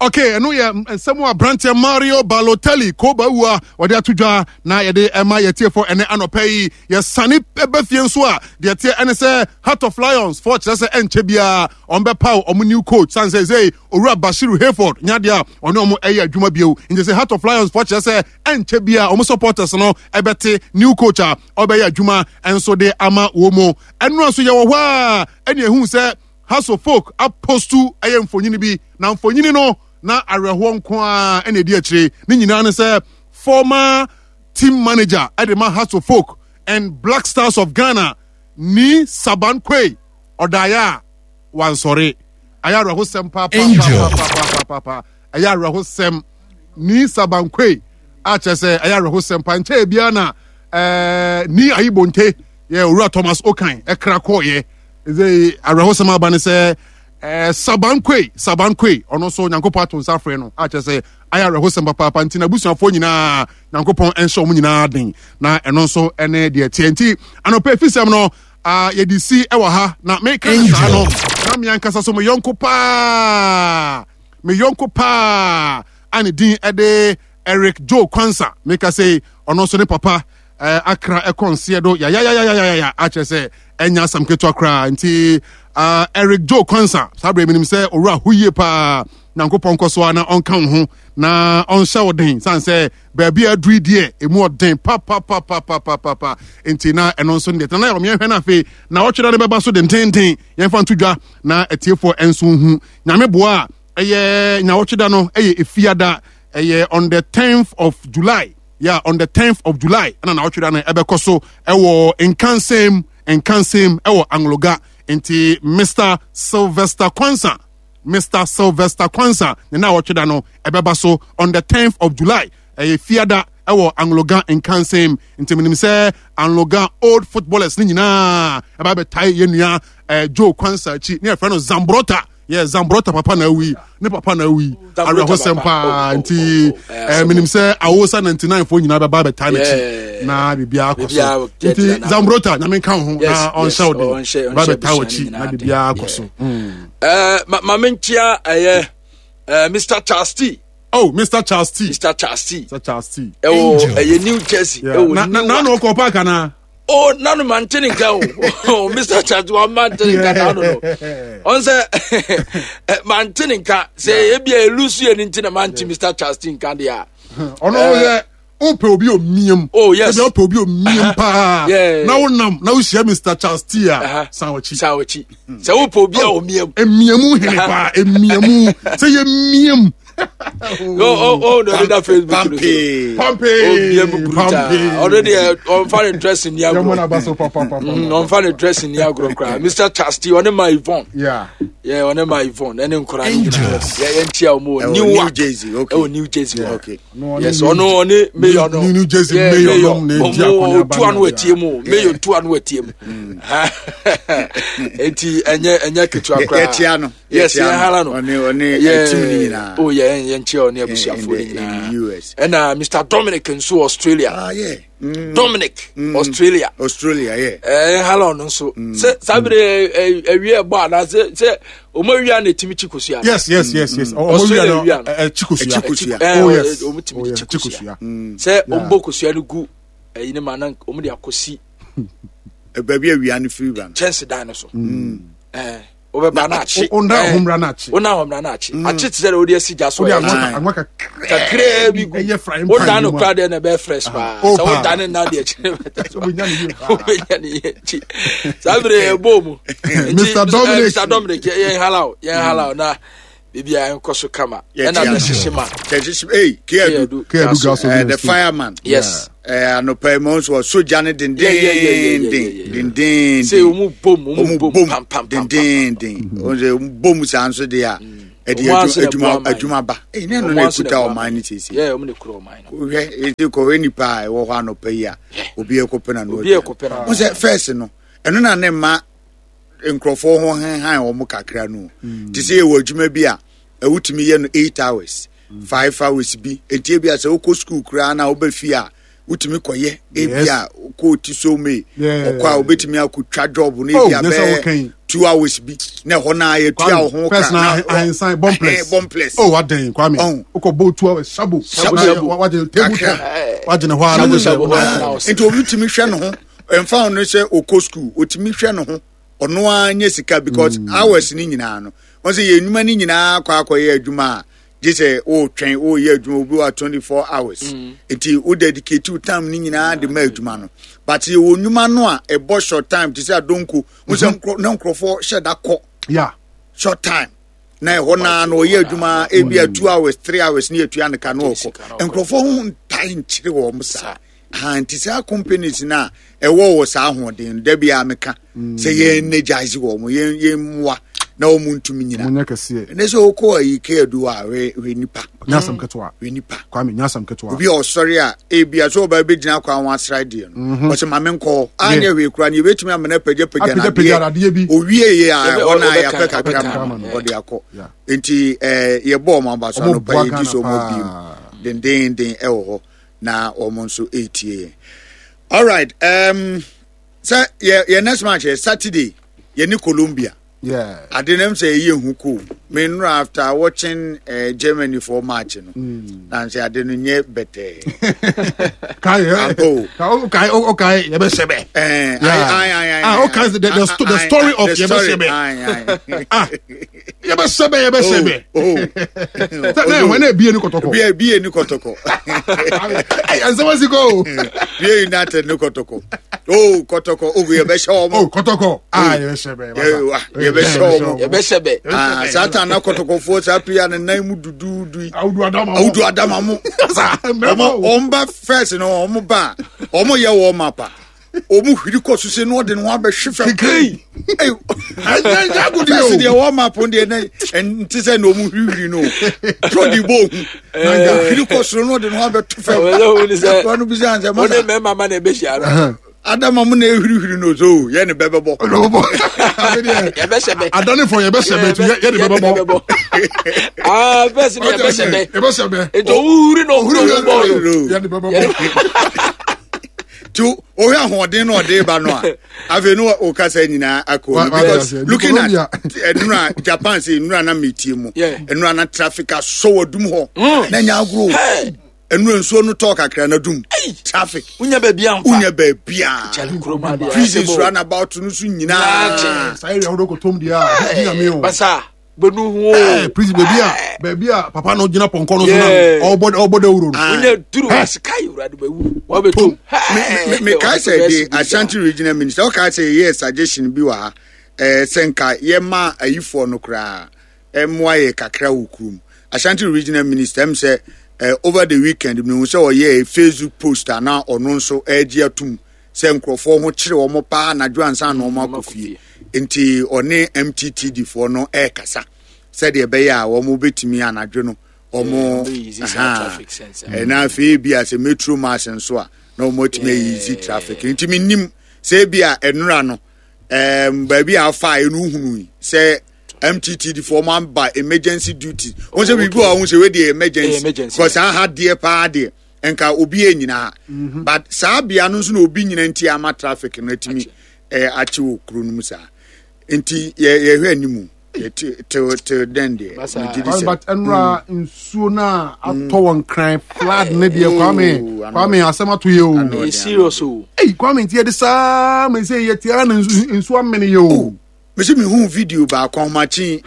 [SPEAKER 1] Okay, eno ye nsɛm a brantie Mario Balotelli ko bawua wɔde ato dwa na yɛde ɛma yɛtiefo ɛne anɔpɛ yi yɛsane ɛbɛ fie nso a deɛ teɛ ɛne sɛ Heart of Lions fo kyerɛ sɛ ɛnkyɛ biara ɔmbɛpaw ɔmo new coach san sɛ sɛ Owura Bashiru Hayford nyadeɛ a ɔne ɔmo ɛyɛ adwuma bio nti sɛ Heart of Lions fo kyerɛ sɛ ɛnkyɛ biara ɔmo supporters no ɛbɛte new coach a ɔbɛyɛ adwuma ɛnso de ama wɔ mu ɛno nso yɛwɔ hɔ a ɛne ehu sɛ House of Folk apostu ɛyɛ mfonyini bi na mfonyini no na awerɛhoɔ nko a ɛna edi akyire ne nyinaa ne sɛ former team manager ɛde ma House of Folk and Black Stars of Ghana ni Saban Quaye ɔdaeɛ a wansɔre ɛyɛ awerɛhosɛm pa pa pa pa pa pa ɛyɛ awerɛhosɛm ni Saban Quaye a kyerɛ sɛ ɛyɛ awerɛhosɛm pa nkyɛn biara na ɛɛ ni Ayibonte yɛ Owura Thomas Okan ɛkra kɔɔyɛ ɛsɛ awerɛhosɛm aba ne sɛ ɛɛ Saban Quaye Saban Quaye ɔno nso Nyankopɔn ato nsa afrɛ no a kyerɛ sɛ ayɛ awerɛhosɛm papaapa nti na abusuafoɔ nyinaa Nyankopɔn ɛnhyɛ wɔn nyinaa den na ɛno nso ɛne deɛ teɛ nti anɔpɛ efisɛm no a yɛde si ɛwɔ ha na meka ne saa no na mmea nkasa so me yɔnko paa me yɔnko paa a ne din ɛde Eric Joe Kwansa meka sɛ ɔno nso ne papa eh, akra ɛkɔ nseɛ do ya ya ya ya ya ya akyerɛ sɛ ɛnya asɛm ketewa koraa nti uh, Eric Joe Kwansa saa berɛ menim sɛ owura ho yie paa Nyankopɔn nkɔ so a na ɔnka wo ho na ɔnhyɛ wo den sane sɛ baabi a aduru deɛ ɛmu ɔden papapapapapapa nti na ɛno nso deɛ tena na yɛhwɛ no afei na ɔtwerɛ no bɛba so dententen yɛmfa nto dwa na atiefoɔ ɛnso hu Nyame boa a ɛyɛ nyawɔtweda no ɛyɛ efiada ɛyɛ on the tenth of July. Yeah, on the tenth of July ɛna na ɔtwerɛ no ɛbɛkɔ so ɛwɔ Nkansɛm Nkansɛm ɛwɔ Angloga nti Mister Sylvester Kwansa Mister Sylvester Kwansa ne na ɔtwerɛ no ɛbɛba so on the tenth of July ɛyɛ fiada ɛwɔ Angloga Nkansɛm nti menim sɛ Angloga old footballers ne nyinaa ɛba bɛtae yɛn nua ɛɛ Joe Kwansa akyi ne yɛfrɛ no Zambrota Yeah, Zambrota papa na awi ne papa na awi awerɛhosɛm paa nti menim sɛ awosa ninety-nine fo nyinaa bɛba bɛtaa n'akyi na biribiara akɔ so nti Zambrota nyame nka wo ho na ɔnhyɛ wo den ba bɛtaa w'akyi na biribiara akɔ so.
[SPEAKER 2] Ma menkyia ɛyɛ Mister Charles T.
[SPEAKER 1] Oh, Mister Charles T.
[SPEAKER 2] Mister Charles T.
[SPEAKER 1] Mister Charles T.
[SPEAKER 2] Ɛwɔ New Jersey.
[SPEAKER 1] Na na na ɔkɔ park ana.
[SPEAKER 2] Oh, nanu mantene nka o. Mister Charles wa mantene nka nanu no. On se mantene nka se ebi elusu ye nti na manti Mister Charles T nka dia.
[SPEAKER 1] Ono ye o pe obi omiem.
[SPEAKER 2] Oh yes.
[SPEAKER 1] Ebi o pe obi omiem pa. Na wo nam na wo hia Mister Charles T a san wachi.
[SPEAKER 2] San wachi. Se wo pe obi omiem.
[SPEAKER 1] Emiemu hene pa, emiemu. Se ye miem.
[SPEAKER 2] Oh, oh, oh, no, that Facebook.
[SPEAKER 6] Pampe.
[SPEAKER 1] Pampe.
[SPEAKER 2] Oh, already on fire dressing the agro. On fire dressing the agro. Mister Charles T, on my Yvonne.
[SPEAKER 1] Yeah.
[SPEAKER 2] Yeah, on my Yvonne. And then Yeah, New
[SPEAKER 6] Jersey. Okay.
[SPEAKER 2] Oh, New Jersey.
[SPEAKER 6] Okay.
[SPEAKER 2] Yes, on on mayor.
[SPEAKER 1] New Jersey mayor.
[SPEAKER 2] Mayor. Two and wet team. Mayor two and wet team. Enti enye enye ketua kra. Yes, yeah, halano. Yeah. Oh yeah, yeah, yeah, U S. And uh, Mister Dominic in so Australia.
[SPEAKER 6] Ah yeah. Mm.
[SPEAKER 2] Dominic, mm. Australia.
[SPEAKER 6] Australia, yeah.
[SPEAKER 2] Eh, hello, no so. Se sabre eh we ba na se se omo na timi chikosia.
[SPEAKER 1] Yes, yes, yes, yes. Omo na eh chikosia. Oh yes.
[SPEAKER 2] Omo timi chikosia. Se ombo kosia no gu eh ni ma na omo de akosi.
[SPEAKER 6] E ba bi awia no free ba.
[SPEAKER 2] Chance dan no so. Eh obeba na achi.
[SPEAKER 1] Onda homra na achi.
[SPEAKER 2] Ona homra na achi. Achi te sɛ odi asi gya so.
[SPEAKER 1] Anwa
[SPEAKER 2] kakra bi gu. Oda no kra de na be fresh pa. Sɛ oda ne na de achi. Obenya ne ye chi. Sabre bo mu.
[SPEAKER 1] Mister Dominic,
[SPEAKER 2] Mister Dominic ye halao, ye halao na bibia enkoso kama. E na de hyehyema.
[SPEAKER 6] Hyehyema. Eh, Keadu.
[SPEAKER 1] Keadu
[SPEAKER 6] the fireman.
[SPEAKER 2] Yes.
[SPEAKER 6] Eh anopa mo so soja ne den den den den.
[SPEAKER 2] Say omu bom omu bom pam pam
[SPEAKER 6] den den den. O say omu bom sa nso de a e de adwuma adwuma ba. Eh ne no na ekuta o man ni sisi.
[SPEAKER 2] Yeah, omu ne kura o man no.
[SPEAKER 6] Hwe e ko we nipa e wo ho anopa yi a obi ekopɛ na no.
[SPEAKER 2] Obi ekopɛ na.
[SPEAKER 6] O say first no eno na ne ma nkrofo ho han wo mo kakra no. Ti say wo adwuma bi a ewutimi ye no eight hours, five hours bi. Enti bi a say wo school kura na wo ba fie a utimi koye ebia ko ti so me okwa obetimi akotwa job no ebia be two hours bi na ho na yetua wo ho ka
[SPEAKER 1] na ahinsan bomb place
[SPEAKER 6] bomb place
[SPEAKER 1] oh adan kwame okọ two hours shabo wa de table wa de ne ho ara
[SPEAKER 6] enti obetimi hwe ne ho emfa no se okọ school otimi hwe ne ho ono anya sika because hours ni nyina no won se ye nwuma ni nyina akwa akoye adwuma a say oh train oh yeah adwuma obi wa twenty-four hours enti o dedicate your time ni nyina de ma adwuma no but ye wo nwuma no a e bo short time to say adonko wo se na nkrofo hye da kɔ
[SPEAKER 1] yeah
[SPEAKER 6] short time na e ho na no ye adwuma e bia two hours three hours ni atua ne ka no okɔ nkrofo ho ntai nkyere wo msa ha nti say companies na e wo wo sa ahoden da bia meka say ye energize wo mo ye ye mwa na o muntu nyina
[SPEAKER 1] munya kese
[SPEAKER 6] ne so ko ayi ke adu a we we nipa
[SPEAKER 1] nyasam ketewa
[SPEAKER 6] we nipa
[SPEAKER 1] kwame nyasam ketewa
[SPEAKER 6] obi o sori a e bia so oba be gina kwa ho asra de no o se ma menko anya we kura ne betumi amena pagya pagya na de bi owie ye a ona ya pe kakra ma o de akọ enti eh ye bo ma ba so no pa ye di so mo bi den den den e wo ho na o mo nso etie. All right, um so ye ye next match is Saturday ye ni Colombia.
[SPEAKER 1] Yeah.
[SPEAKER 6] I didn't say you who cool. Me no after watching uh, Germany for match no. Mm. And say I didn't yet better.
[SPEAKER 1] Kai okay okay yebesebe.
[SPEAKER 6] Eh I I I
[SPEAKER 1] ah okay the the, the, the story of yebesebe. Ah yebesebe yebesebe.
[SPEAKER 6] Oh.
[SPEAKER 1] That when e bie ni kotoko.
[SPEAKER 6] Bie bie ni kotoko.
[SPEAKER 1] Ay and so was go.
[SPEAKER 6] Bie United ni kotoko. Oh kotoko oh yebeshe omo.
[SPEAKER 1] Oh kotoko. Ah yebesebe.
[SPEAKER 6] Yebeshe
[SPEAKER 2] yebesebe.
[SPEAKER 6] Ah satan na kotoko fo sa pia na nan mu dududu.
[SPEAKER 1] Awudu adama.
[SPEAKER 6] Awudu adama mo. Omo omba first no omo ba. Omo ye wo mapa. Omo hwiri kɔ so se no de no abɛhwe fam.
[SPEAKER 1] Kekei.
[SPEAKER 6] Eh
[SPEAKER 1] anya gudi o.
[SPEAKER 6] First de wo map on de na nti se na omo hwiri no. Tro di bo hu. Na hwiri kɔ so no de no abɛto fam.
[SPEAKER 2] Wo
[SPEAKER 6] no bi se anse ma.
[SPEAKER 2] Wo de me mama na be hia no.
[SPEAKER 6] Adama mu na ehurihuri no so yɛ ne bɛbɛbɔ.
[SPEAKER 2] Yɛbɛhyɛ bɛ.
[SPEAKER 1] Adanefo yɛbɛhyɛ bɛ yɛ ne bɛbɛbɔ.
[SPEAKER 2] Aa bɛsi ni yɛbɛhyɛ bɛ.
[SPEAKER 1] Yɛbɛhyɛ bɛ.
[SPEAKER 2] Eto ohuri na ohuri bɔ
[SPEAKER 1] no. Yɛ ne bɛbɛbɔ.
[SPEAKER 6] Ti ohwɛ ahoɔden na ɔde ba no a afei no okasa nyinaa akɔ because looking at enura Japan say enura na metie mu enura na traffic asɔ wadum hɔ na nya agro. Enu nsuo no tɔ kakra na dum traffic
[SPEAKER 2] unya baabi amfa
[SPEAKER 6] unya baabi a prisons run about no so nyinaa
[SPEAKER 1] sai area hodo kotom dia di na me o
[SPEAKER 2] basa benu ho
[SPEAKER 1] eh prison baabi a baabi a papa no gina ponko no so na obo obo de wuro no
[SPEAKER 2] unya duru sky wura de bawu wa betom
[SPEAKER 6] me me kai say the Ashanti regional minister o kai say yes suggestion bi wa ha eh senka ye ma ayifo no kra e moa ye kakra wo krum Ashanti regional minister em say Uh, over the weekend, me say oh yeah Facebook post na ono nso eji atum se nkrofo ho kire wo pa na dwansa na omo akofie nti one M T T D fo no e kasa se de be ya wo mo betimi anadwo no omo
[SPEAKER 2] traffic sense
[SPEAKER 6] e na afi bi ase metro mass nso a na omo timi easy traffic nti minim se bi a enura no em ba bi afa enu hunu se M T T D for man by emergency duty. Once we go on say we the emergency because I had dear pa dear and ka obi nyina. But saa bia no nso na obi nyina nti ama traffic no atimi eh achi wo kro no mu saa. Nti ye ye hwe animu till till then there.
[SPEAKER 1] But enra nsuo na atɔ won kran flood ne de Kwame Kwame asem ato ye o.
[SPEAKER 2] Serious o.
[SPEAKER 1] Hey Kwame nti ye de saa me say ye tia na nsuo amene ye o.
[SPEAKER 6] Mese me hu video ba kwa machi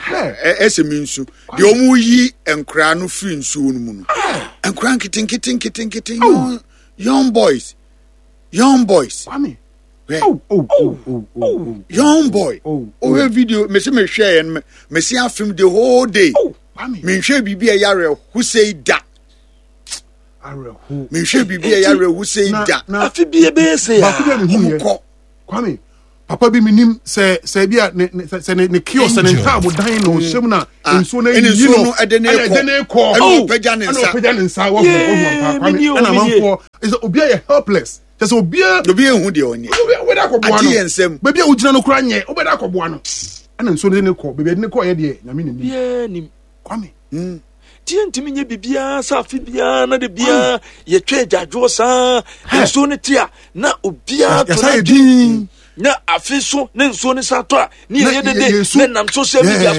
[SPEAKER 6] ese me nsu de omu yi enkra no free nsu no mu no enkra nketen nketen nketen nketen young boys young boys
[SPEAKER 1] Kwame oh oh oh oh
[SPEAKER 6] young boy oh video mese me hwe en mese afim the whole day me hwe bibi e yare who say da
[SPEAKER 1] are who
[SPEAKER 6] me hwe bibi e yare who say da
[SPEAKER 2] afi bi e be say
[SPEAKER 1] ba fi bi me hu Kwame papa bi minim se se bia ne se ne ne kiosk ne ntaabo dan no hwem na nsuo na yi no
[SPEAKER 6] ede ne ko ene opagya ne nsa
[SPEAKER 1] opagya ne nsa wo ho ho pa Kwame na manfo is obi ye helpless just obi
[SPEAKER 6] obi ehu de onye
[SPEAKER 1] obi we da koboa no
[SPEAKER 6] ade nsem
[SPEAKER 1] ba bia ogina no kura nye obi da koboa no na nsuo ne ne ko ba bia ne ko ye de nyame ne
[SPEAKER 2] ni ye nim
[SPEAKER 1] Kwame
[SPEAKER 2] ti ntimi nye bibia sa afi bia na de bia ye twa adwadwo sa nsuo ne tia na obia to
[SPEAKER 1] na din
[SPEAKER 2] na afiso ne nsuo ne sato a ne ye dede ne nam social media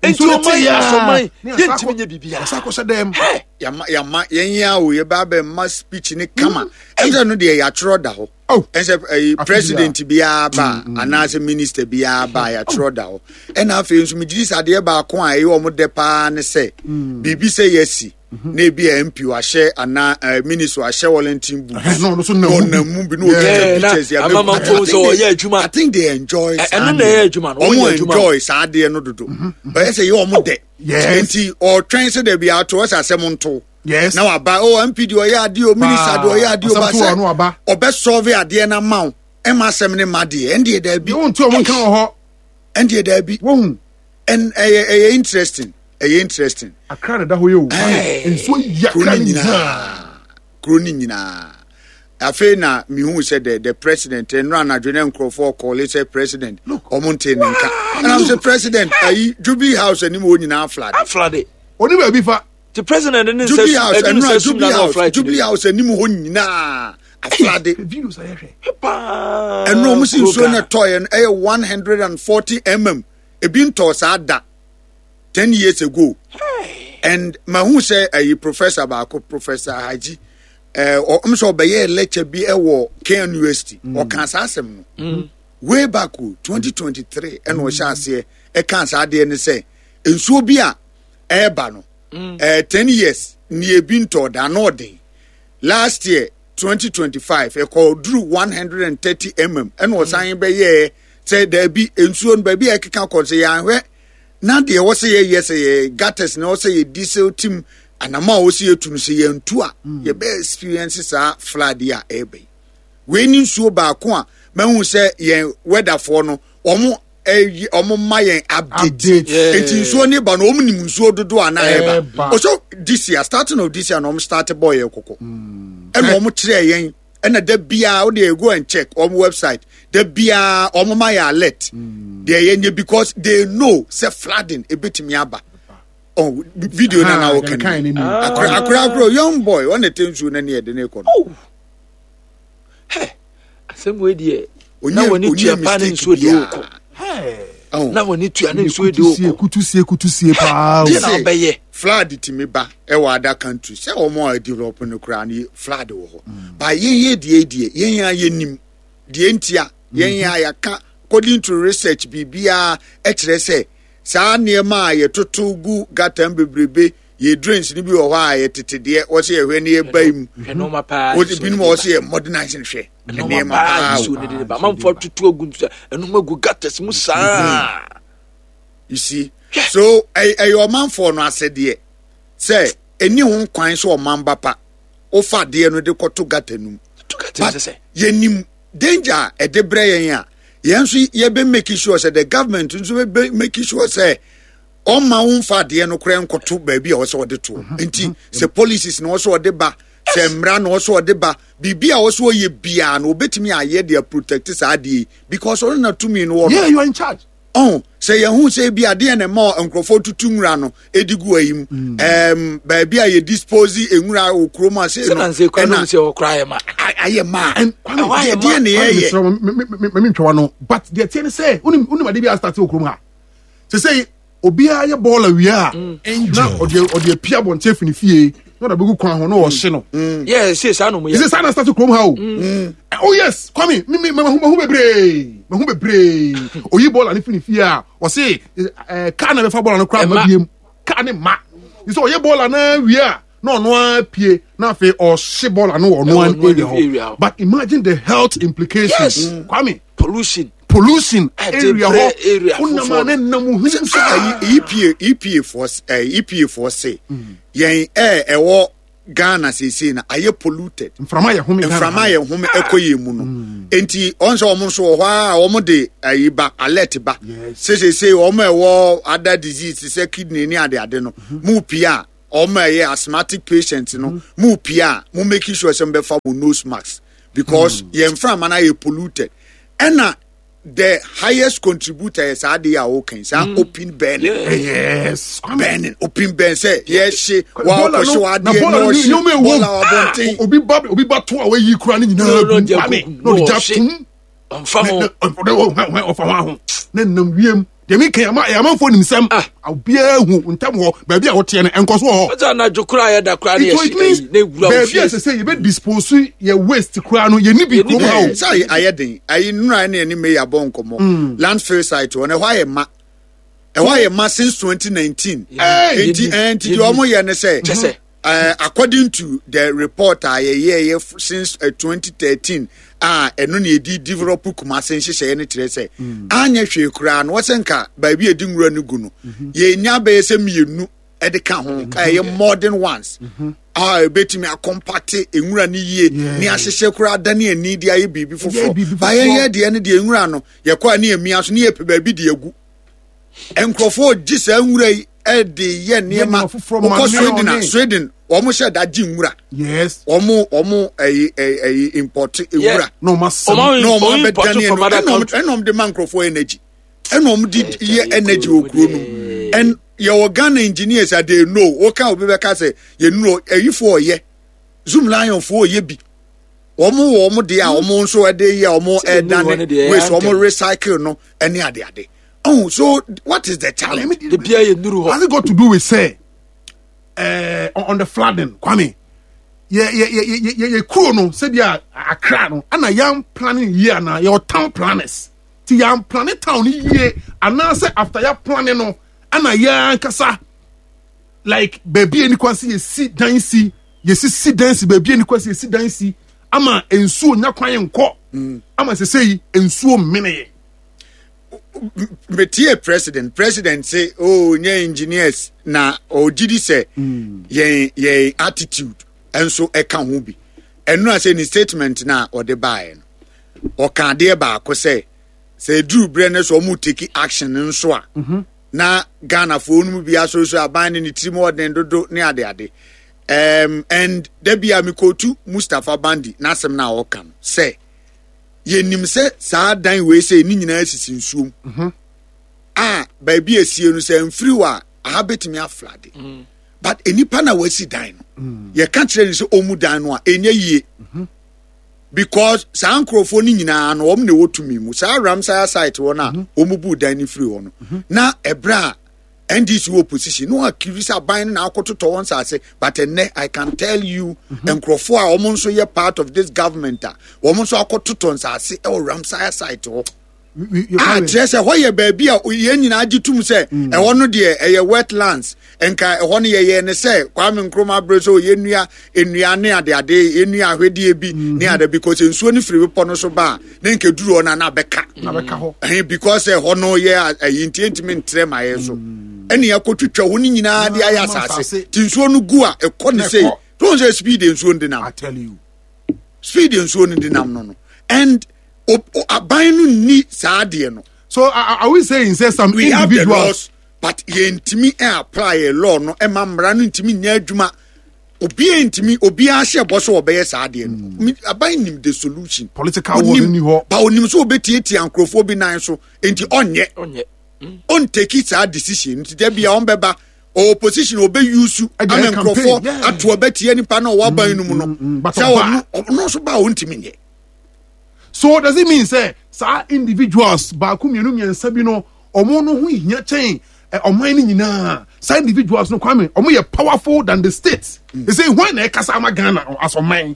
[SPEAKER 2] enti o man asoman ye ntimi nye bibia
[SPEAKER 1] asako se dem
[SPEAKER 6] ya ya ma yen ya o ye ba be ma speech ne kama ense no de ya tro da ho ense president bia ba ana se minister bia ba ya tro da ho e na afi nso me gidi sade ba ko a ye o mo de pa ne se bibi se yesi na ebi M P wa hye ana minister wa hye Wellington boot
[SPEAKER 1] no no so na
[SPEAKER 6] mu bi no pictures ya
[SPEAKER 2] amama fo so ye adwuma
[SPEAKER 6] I think they enjoy
[SPEAKER 2] eno na ye adwuma no
[SPEAKER 6] wo enjoy saa de no dodo but say ye omo de enti o twen se da bi ato o asem nto
[SPEAKER 1] yes
[SPEAKER 6] na wa ba o M P de o ye ade o minister de o ye ade o ba se o be solve ade na ma o e ma asem ne ma de en de da bi
[SPEAKER 1] wo nto o nka ho
[SPEAKER 6] en de da bi
[SPEAKER 1] wo hu
[SPEAKER 6] en eh interesting eh interesting
[SPEAKER 1] akra na da ho ye o nsuo yi akra nyina
[SPEAKER 6] kro ni nyina afi na mihu said the the president no anadwo ne nkrofo call say president omo nte ne nka and I'm say president ayi Jubilee House ani mo nyina flood
[SPEAKER 2] flood
[SPEAKER 1] oni ba bi fa
[SPEAKER 2] the president ne
[SPEAKER 6] Jubilee House no Jubilee House Jubilee House ani mo ho nyina aflade
[SPEAKER 1] videos ayehwe
[SPEAKER 2] pa
[SPEAKER 6] eno mo si nsuo na toy no eh one hundred forty millimeters ebi nto saa da ten years ago.
[SPEAKER 2] Hey.
[SPEAKER 6] And mahu say a professor baako Professor Haji eh o so obeye lecture bi e wo K N U S T o kan sa asem no way back twenty twenty-three e no hye ase e kan sa ade ne say nsuo bi a e ba no eh ten years ni ebi nto da no den last year twenty twenty-five e ko drew one hundred thirty millimeters e no san be ye say there bi nsuo no ba bi e keka ko say ya hwe na de wo say ye say gutters na wo say diesel team anama wo say etu no say ye ntu a ye be experience sa flood ya ebe we ni nsuo ba ko a mahu say ye weather for no omo omo ma ye update enti nsuo ne ba no omo nim nsuo dodo ana eba o so this year starting of this year no omo start boy ye kokko e no omo kire yen
[SPEAKER 10] Ɛna da biara wode go and check ɔmo website, da biara ɔmo ma yɛ alert deɛ yɛnyɛ, because they know sɛ flooding ebetumi aba. Oh, video na na wɔka ni akora akora akora young boy ɔna te nsuo na ne yɛde ne kɔ no.
[SPEAKER 2] Hɛ, asɛm wei deɛ, na wɔne tua paa ne nsuo deɛ ɔkɔ, na wɔne tua ne nsuo deɛ ɔkɔ.
[SPEAKER 1] Kutu sie, kutu sie paa o.
[SPEAKER 2] Deɛ na ɔbɛyɛ.
[SPEAKER 10] Flood tumi ba ɛwɔ other country sɛ wɔn a develop no koraa no, flood wɔ hɔ, ba yɛn yɛ deɛ deɛ yɛn a yɛnim deɛ ntia yɛn yɛ a yɛaka. According to research, biribiara ɛkyerɛ sɛ saa nneɛma a yɛtoto gu gutter mu bebrebe, yɛ drains no bi wɔ hɔ a yɛtete deɛ wɔsɛ yɛhwɛ ne yɛba yi mu.
[SPEAKER 2] Hwɛ nneɛma paa.
[SPEAKER 10] Wɔde binom a wɔsɛ yɛ modernize no, hwɛ
[SPEAKER 2] nneɛma paa nsuo ne de ba amanfoɔ atutu agu nsuo ɛnum agu gutters mu saa.
[SPEAKER 10] You see, so ɛyɛ ɔmanfoɔ no asɛdeɛ sɛ ɛni ho kwan sɛ ɔman ba pa wofa adeɛ no de kɔto gutter no mu.
[SPEAKER 2] But
[SPEAKER 10] yɛnim danger a ɛde brɛ yɛn a, yɛn nso yɛbɛ make sure sɛ the government nso bɛ make sure sɛ ɔma wo nfa adeɛ no koraa nkɔto baabi a wɔsɛ ɔde to. Nti sɛ policies na wɔsɛ ɔde ba, sɛ mmara na wɔsɛ ɔde ba, biribi a wɔsɛ ɔyɛ biara no, obetumi ayɛ de protect saa adeɛ yi, because ɔno na tumi no wɔ no.
[SPEAKER 1] Yeah, you are in charge.
[SPEAKER 10] Ɔn sɛ yɛn ho sɛ bi adeɛ na ɛma nkurɔfoɔ tutu nwura no edi gu ayi mu, ɛɛm baabi a yɛ dispose nwura wɔ kurom ase
[SPEAKER 2] no, ɛna sɛ ɔkora ayɛ ma.
[SPEAKER 10] Ayɛ ma deɛ ne yɛyɛ.
[SPEAKER 1] Mɛmi ntwa no, but deɛ tiɛ ne sɛ wonim wonim ade bi a start wɔ kurom ha sɛ sɛ obiara yɛ bɔɔl awia a, na ɔde ɔde apia abɔnten afi ne fie na ɔde abɛgu kwan ho na ɔhye no.
[SPEAKER 2] Yɛ sɛ saa nom yɛ.
[SPEAKER 1] Sɛ saa na start kurom ha o. Oh yes, Kwame, mi mi mahu mahu bebree, mahu bebree. Oyi bɔɔl ne fi ne fie a, ɔse ɛɛ kaa na bɛfa bɔɔl no koraa ma biem kaa ne ma sɛ ɔyɛ bɔɔl na wie a, na ɔno ara pie na afei ɔhye bɔɔl no wɔ ɔno ara area hɔ. But imagine the health implications.
[SPEAKER 2] Yes.
[SPEAKER 1] Kwame.
[SPEAKER 2] Pollution.
[SPEAKER 1] Pollution area hɔ, wonam a ne nam ohun
[SPEAKER 10] saa. epa epa foɔ ɛɛ E P A foɔ se yɛn ɛɛ ɛwɔ Ghana seesei na ayɛ polluted.
[SPEAKER 1] Mframa yɛ home.
[SPEAKER 10] Mframa yɛ home ɛkɔ yɛ mu no, nti ɔn sɛ wɔn nso wɔ hɔ a, wɔn de ayi ba, alert ba sɛ seesei wɔn a ɛwɔ other disease sɛ kidney ne ade ade no mu pii a, wɔn a ɛyɛ asthmatic patient no mu pii a, mo make sure sɛ mo bɛfa mo nose mask, because yɛn mframa no ayɛ polluted. Ɛna the highest contributor yɛ saa adeɛ a wɔka saa open burning.
[SPEAKER 1] Yes.
[SPEAKER 10] Burning, open burn, sɛ yɛhye wakɔhye wadeɛ na ɔhye bɔɔla wɔ abɔnten.
[SPEAKER 1] Obi ba, obi ba to a wayi kura ne nyinaa gu, Kwame, na ɔde gya tum.
[SPEAKER 2] Ɔnfa ho.
[SPEAKER 1] Ɔfa ho aho ne nam wiem deɛ mi kan ama amanfoɔ nim sɛm, obiara hu ntɛm hɔ baabi a wɔteɛ no nkɔ so wɔ hɔ.
[SPEAKER 2] Ɔtí anadwo kura yɛ da kura ne yɛ
[SPEAKER 1] si ne wura baabi a sɛ sɛ yɛbɛ dispose yɛ waste kura no, yɛ ni bi kurom ha o.
[SPEAKER 10] Sɛ ayɛ den ayi nnura ne ɛne mayor bɔ nkɔmɔ, landfill site hɔ no, ɛhɔ ayɛ ma, ɛhɔ ayɛ ma since twenty nineteen. Nti nti deɛ ɔmo yɛ ne sɛ, uh, according to the report a yɛyɛ yɛ since uh, twenty thirteen a ɛno na yɛdi develop Kumase nhyehyɛeɛ no, kyerɛ sɛ anyɛ hwee koraa no, wɔsɛ nka baabi a yɛdi nwura no gu no, yɛnya bɛyɛ sɛ mmienu ɛde ka ho a ɛyɛ modern ones a ebetumi acompact nwura no yie ne ahyehyɛ koraa dane ani de ayɛ biribi foforɔ. Ba yɛyɛ deɛ no deɛ, nwura no yɛkɔ a ne yɛmia so ne yɛpɛ baabi de agu. Nkurɔfoɔ gye saa nwura yi ɛde yɛ nneɛma. Wokɔ Sweden a, Sweden wɔn hyɛ da gye nwura.
[SPEAKER 1] Yes.
[SPEAKER 10] wɔn wɔn ɛyi ɛyi ɛyi import nwura
[SPEAKER 1] na ɔmo asɛm
[SPEAKER 10] na wɔn abɛdane ɛno, ɛna ɛna wɔn de ma nkurɔfoɔ energy, ɛna wɔn de yɛ energy wɔ kuro no mu. And yɛwɔ Ghana engineers a they know. Wɔka obi bɛka sɛ yɛn nuro ɛyifoɔ ɔyɛ Zoomlion foɔ ɔyɛ bi, wɔn wɔ wɔn deɛ a wɔn nso ɛde yɛ, wɔn ɛdane waste, wɔn recycle no ɛne adeade. Oh, so what is the challenge?
[SPEAKER 2] De bia yɛ nuru hɔ.
[SPEAKER 1] Has it got to do with say uh, on the flooding, Kwame? Yɛ yɛ yɛ yɛ yɛ yɛ kuro no sɛbi a Accra no, ana yɛn planning yie ana yɛ town planners ti yɛn planning town yie, anaasɛ after yɛ planning no ana yɛn ankasa like baabi a nipa si yɛsi dan si, yɛsi si dan si baabi a nipa si yɛsi dan si ama nsuo nya kwan nkɔ, ama sese yi nsuo mmene yɛ?
[SPEAKER 10] Metie president president say, oh, nye engineers na ɔgye di sɛ yɛn yɛn attitude nso ɛka ho bi. Ɛno a sɛ ne statement na ɔde baeɛ no, ɔka adeɛ baako sɛ sɛ eduru berɛ no sɛ ɔmo take action nso a, na Ghanafoɔ no mu bi asɔrɔsɔrɔ aban ne ne tirim ɔden dodo ne adeade. Um, and dabi a mikotu Mustapha Bandi n'asɛm na ɔka no sɛ yɛnim sɛ saa dan wei sɛ ne nyinaa sisi nsuom
[SPEAKER 1] Mhm.
[SPEAKER 10] a baabi esie no sɛ mfiri hɔ a aha bɛtumi aflood but nipa na wasi dan no
[SPEAKER 1] Mm.
[SPEAKER 10] yɛka kyerɛ no sɛ ɔmu dan no a ɛnyɛ yie because saa nkurɔfoɔ no nyinaa no wɔn na ɛwɔ tumi mu saa Ramsar site hɔ no a wɔn bu dan no firi hɔ no na ɛberɛ a N D C wɔ opposition no akiri sɛ aban no na akɔtotɔ wɔn nsase, but ɛnɛ I can tell you, nkurɔfoɔ a wɔn nso yɛ part of this government a wɔn nso akɔtotɔ nsase ɛwɔ Ramsar site hɔ a kyerɛ sɛ hɔ yɛ baabi a yɛn nyinaa gye tum sɛ ɛhɔ no deɛ ɛyɛ wetlands. Nka ɛhɔ no yɛyɛ ne sɛ Kwame Nkrumah abere so yɛnnua nnua ne adeade, yɛnnua ahwedeɛ bi ne ade, because nsuo no firi bepɔ no so ba a ne nka duru hɔ no a na abɛka.
[SPEAKER 1] Na bɛka hɔ.
[SPEAKER 10] Ɛhɛn, because ɛhɔ no yɛ ayi nti ɛntumi ntrɛ ma yɛ so ɛne yɛakɔtwitwa hɔ no nyinaa de ayɛ
[SPEAKER 1] Ama
[SPEAKER 10] asase
[SPEAKER 1] asase.
[SPEAKER 10] nti nsuo no gu a ɛkɔ ne
[SPEAKER 1] Na
[SPEAKER 10] sei
[SPEAKER 1] ɛkɔ.
[SPEAKER 10] to sɛ speed nsuo no de nam
[SPEAKER 1] I tell you.
[SPEAKER 10] Speed nsuo no de nam no no and o- o- aban no nni saa adeɛ no.
[SPEAKER 1] So are, are we saying say some
[SPEAKER 10] We have the
[SPEAKER 1] individuals
[SPEAKER 10] laws, but yɛntumi apply yɛ law no ɛma mmara no ntumi nyɛ adwuma. Obiara ntumi, obiara hyɛ bɔ so ɔbɛyɛ saa adeɛ no. Mi- aban nim the solution.
[SPEAKER 1] Political war
[SPEAKER 10] Onim-
[SPEAKER 1] ni hɔ.
[SPEAKER 10] Ba onim so obɛtiatia nkurɔfoɔ bi nan so nti ɔnyɛ
[SPEAKER 2] ɔnyɛ
[SPEAKER 10] ɔntake saa decision nti dɛ bia ɔmbɛba opposition ɔbɛyusu
[SPEAKER 1] Ɛde
[SPEAKER 10] ama
[SPEAKER 1] ayɛ campaign,
[SPEAKER 10] nkurɔfoɔ
[SPEAKER 1] yeah.
[SPEAKER 10] ato ɔbɛtia nipa na ɔwɔ aban no mu no
[SPEAKER 1] mm, but
[SPEAKER 10] sɛ
[SPEAKER 1] ɔba.
[SPEAKER 10] ɔno ɔno nso ba a ɔntumi nyɛ.
[SPEAKER 1] So does it mean say saa individuals baako, mmienu, mmiɛnsa bi no ɔmo no ho hia kyɛn ɛ, ɔman no nyinaa? Saa individuals no, Kwame, ɔmo yɛ powerful than the state. They say hwan na ɛkasa ama Ghana as ɔman?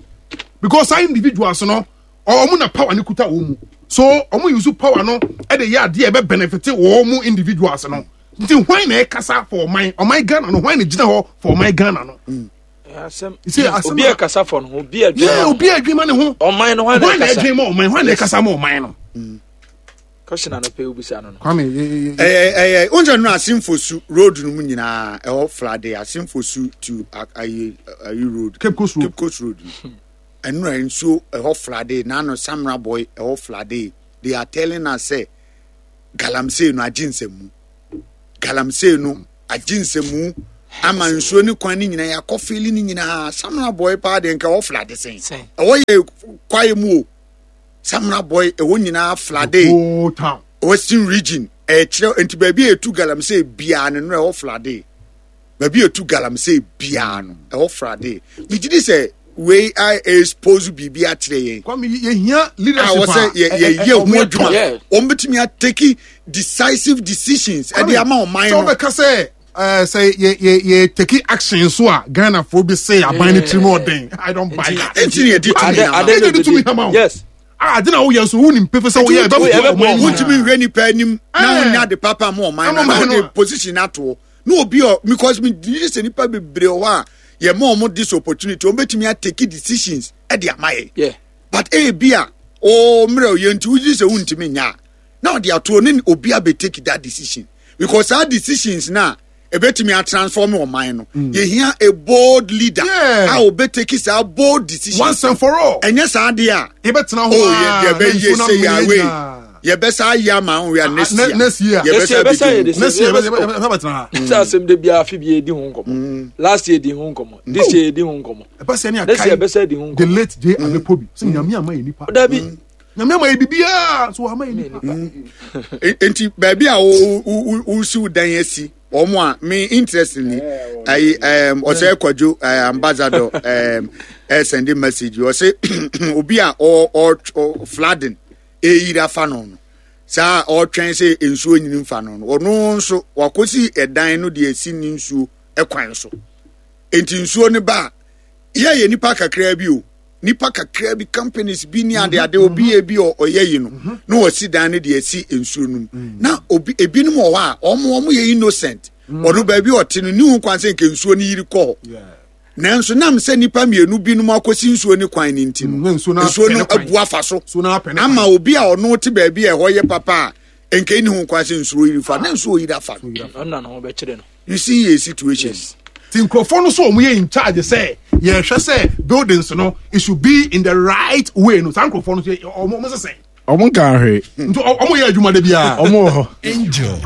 [SPEAKER 1] Because saa individuals no ɔmo na power ne kuta wɔn mu, so ɔmo use power no ɛde yɛ adeɛ ɛbɛ benefit wɔn mu individuals no. Nti hwan na ɛkasa for ɔman ɔman Ghana no? Hwan na gyina hɔ for ɔman Ghana no?
[SPEAKER 2] Asɛm
[SPEAKER 1] You see, asɛm
[SPEAKER 2] obi
[SPEAKER 1] a-
[SPEAKER 2] ɛkasa fɔ no ho, obi ɛdwene
[SPEAKER 1] yeah obi a adwuma ne ho.
[SPEAKER 2] Ɔman no, hwan na
[SPEAKER 1] hwan na
[SPEAKER 2] ɛkasa?
[SPEAKER 1] ɛdwene ma ɔman? Hwan na ɛkasa ma ɔman no?
[SPEAKER 2] Question anɔpɛ obisa no no
[SPEAKER 1] Kwame, ye- ye- ye-
[SPEAKER 10] ɛyɛ ɛyɛ wonkyɛ no Assin Fosu road no mu nyinaa ɛhɔ flood. Assin Fosu to a- ayi ayi road.
[SPEAKER 1] Cape Coast Road.
[SPEAKER 10] Cape Coast Road no ɛnura nsuo ɛhɔ flood. Nano Samreboi ɛhɔ flood. They are telling us sɛ galamsey no agye nsɛmu, galamsey no agye nsɛmu ama nsuo ne kwan ne nyinaa yɛakɔ fill ne nyinaa. Samreboi paa deɛ nka ɛhɔ flood sɛn?
[SPEAKER 2] Sɛn?
[SPEAKER 10] Ɛhɔ yɛ kwae mu o. Samreboi ɛhɔ nyinaa flood.
[SPEAKER 1] Whole town.
[SPEAKER 10] Western Region ɛkyerɛ nti baabi a etu galamsey biara no no ɛwɔ flood. Baabi a etu galamsey biara no ɛwɔ flood. Megye di sɛ wei a expose biribi akyerɛ yɛn.
[SPEAKER 1] Kwame, yɛhia
[SPEAKER 10] a
[SPEAKER 1] leadership
[SPEAKER 10] wɔ sɛ yɛ yɛyɛ ho adwuma.
[SPEAKER 2] Yeah.
[SPEAKER 10] Wɔn bɛtumi atake decisive decisions ɛde ama ɔman
[SPEAKER 1] sɛ
[SPEAKER 10] no.
[SPEAKER 1] wobɛka sɛ eh, sɛ yɛ yɛ yɛ take action so a Ghanafoɔ bi sɛ aban no tirim ɔden, I don't buy that.
[SPEAKER 10] Nti ne yɛde tumi
[SPEAKER 2] Ade-
[SPEAKER 10] ama.
[SPEAKER 2] ade-
[SPEAKER 1] Ɛde tumi ama wo.
[SPEAKER 2] Yes.
[SPEAKER 1] Ah, ade na woyɛ nso wonim pefe sɛ woyɛ ɛbɛboa
[SPEAKER 2] ɛbɛboa
[SPEAKER 1] ɔman no.
[SPEAKER 10] Wontumi nhwɛ nipa anim na
[SPEAKER 1] Eh.
[SPEAKER 10] wonya ade papa ma ɔman
[SPEAKER 1] Ama
[SPEAKER 10] no na
[SPEAKER 1] ɔman no.
[SPEAKER 10] wode position atoɔ na obi ɔ because me di sɛ nipa bebree wɔ hɔ a yɛma ɔmo this opportunity, wɔn bɛtumi atake decisions ɛde ama yɛ.
[SPEAKER 2] Yeah.
[SPEAKER 10] But ebi a o mmerɛ yɛ nti wogye sɛ wontumi nya a na ɔde atoɔ ne obi abɛtake that decision, because saa decisions na ebetumi atransform ɔman no. Yɛhia a bold leader
[SPEAKER 1] Yeah.
[SPEAKER 10] a obɛtake saa bold decision
[SPEAKER 1] Once and for all.
[SPEAKER 10] Ɛnyɛ saa deɛ a
[SPEAKER 1] yɛbɛtena hɔ
[SPEAKER 10] oh
[SPEAKER 1] a,
[SPEAKER 10] yɛ
[SPEAKER 1] na
[SPEAKER 10] yɛbɛyɛ
[SPEAKER 1] nsuo no
[SPEAKER 10] sɛ
[SPEAKER 1] amene
[SPEAKER 10] yàwé
[SPEAKER 1] nyinaa.
[SPEAKER 10] yɛbɛsa ayɛ ama wo ya next
[SPEAKER 1] ne-
[SPEAKER 10] year.
[SPEAKER 1] Next year.
[SPEAKER 2] Next year,
[SPEAKER 10] Yɛbɛsa
[SPEAKER 2] yɛbɛsa yɛ
[SPEAKER 10] bɛdi
[SPEAKER 2] this
[SPEAKER 1] Next year yɛbɛ- yɛbɛtena ha.
[SPEAKER 2] Sɛ asɛm de biara afi bi yɛdi ho nkɔmmɔ, last year di ho nkɔmmɔ, this year yɛdi ho nkɔmmɔ.
[SPEAKER 1] Ɛbɛ sɛ ne
[SPEAKER 2] Next year
[SPEAKER 1] akae
[SPEAKER 2] yɛbɛsa di ho
[SPEAKER 1] the
[SPEAKER 2] nkɔmmɔ.
[SPEAKER 1] late J Amepobi sɛ Nyame ama yɛ nipa.
[SPEAKER 2] Dabi.
[SPEAKER 1] Nyame ama yɛ biribiaa so ama yɛ nipa.
[SPEAKER 10] Nti baabi a wo wo wo wosi wo dan asi wɔn a me interestingly ayi ɛɛm ɔsɛ Kwadwo ɛɛ ambassador ɛɛm ɛsend message, ɔsɛ obi a ɔ ɔ ɔ flooding eyiri afa no no saa ɔtwɛn sɛ nsuo nyini nfa no no ɔno nso wakɔsi ɛdan no deɛ esi ne nsuo ɛkwan so nti nsuo no ba a yɛ yɛ nipa kakra bi o, nipa kakra bi, companies bi ne ade ade, obi yɛ bi ɔ- ɔyɛ yi no na wɔsi dan no deɛ esi nsuo no mu na obi ebinom wɔ hɔ a ɔmo ɔmo yɛ innocent. Ɔno baabi a ɔte no ne ho kwan sɛ nke nsuo no yiri kɔ hɔ, nanso nam sɛ nipa mmienu binom akɔsi nsuo no kwan no nti no
[SPEAKER 1] Mm, na nsuo no
[SPEAKER 10] nsuo no
[SPEAKER 1] apɛ ne kwan.
[SPEAKER 10] abu afa so
[SPEAKER 1] Nsuo no apɛ ne
[SPEAKER 10] ama
[SPEAKER 1] kwan.
[SPEAKER 10] obi a ɔno te baabi a ɛhɔ yɛ papa a nke ne ho kwan sɛ nsuo yiri fa na nsuo yiri afa no.
[SPEAKER 2] Ɔno na ne ho bɛkyerɛ no.
[SPEAKER 10] You see a situation.
[SPEAKER 1] Ti nkurɔfoɔ no so ɔmo yɛ in charge sɛ yɛhwɛ sɛ buildings no it should be in the right way no, saa nkurɔfoɔ no so yɛ- ɔmo ɔmo sesɛn?
[SPEAKER 11] Ɔmo nka hwee.
[SPEAKER 1] Nti ɔ- ɔmo yɛ adwuma de biara.
[SPEAKER 11] Ɔmo wɔ hɔ.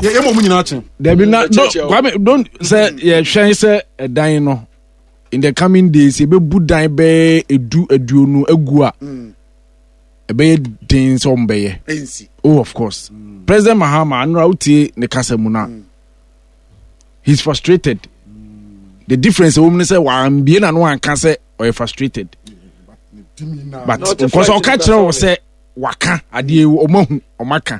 [SPEAKER 1] Yɛ yɛ ma ɔmo nyinaa kye.
[SPEAKER 11] Dabi na
[SPEAKER 2] Mm,
[SPEAKER 11] no
[SPEAKER 2] kyerɛkyerɛ wo.
[SPEAKER 11] Kwame, don't sɛ yɛhwɛn sɛ ɛdan no In the coming days yɛbɛbu dan bɛyɛ edu aduonu agu a ɛbɛyɛ den sɛ ɔmo bɛyɛ.
[SPEAKER 10] Ɛnsi.
[SPEAKER 11] Oh, of course mm. President Mahama anora wotie ne kasa mu na mm. he's frustrated mm. The difference ɛwɔ mu ne sɛ wambie na no anka sɛ ɔyɛ frustrated, but nkɔsɛ ɔka kyerɛ wɔ sɛ waka adeɛ, ɔmo ahu, ɔmo aka,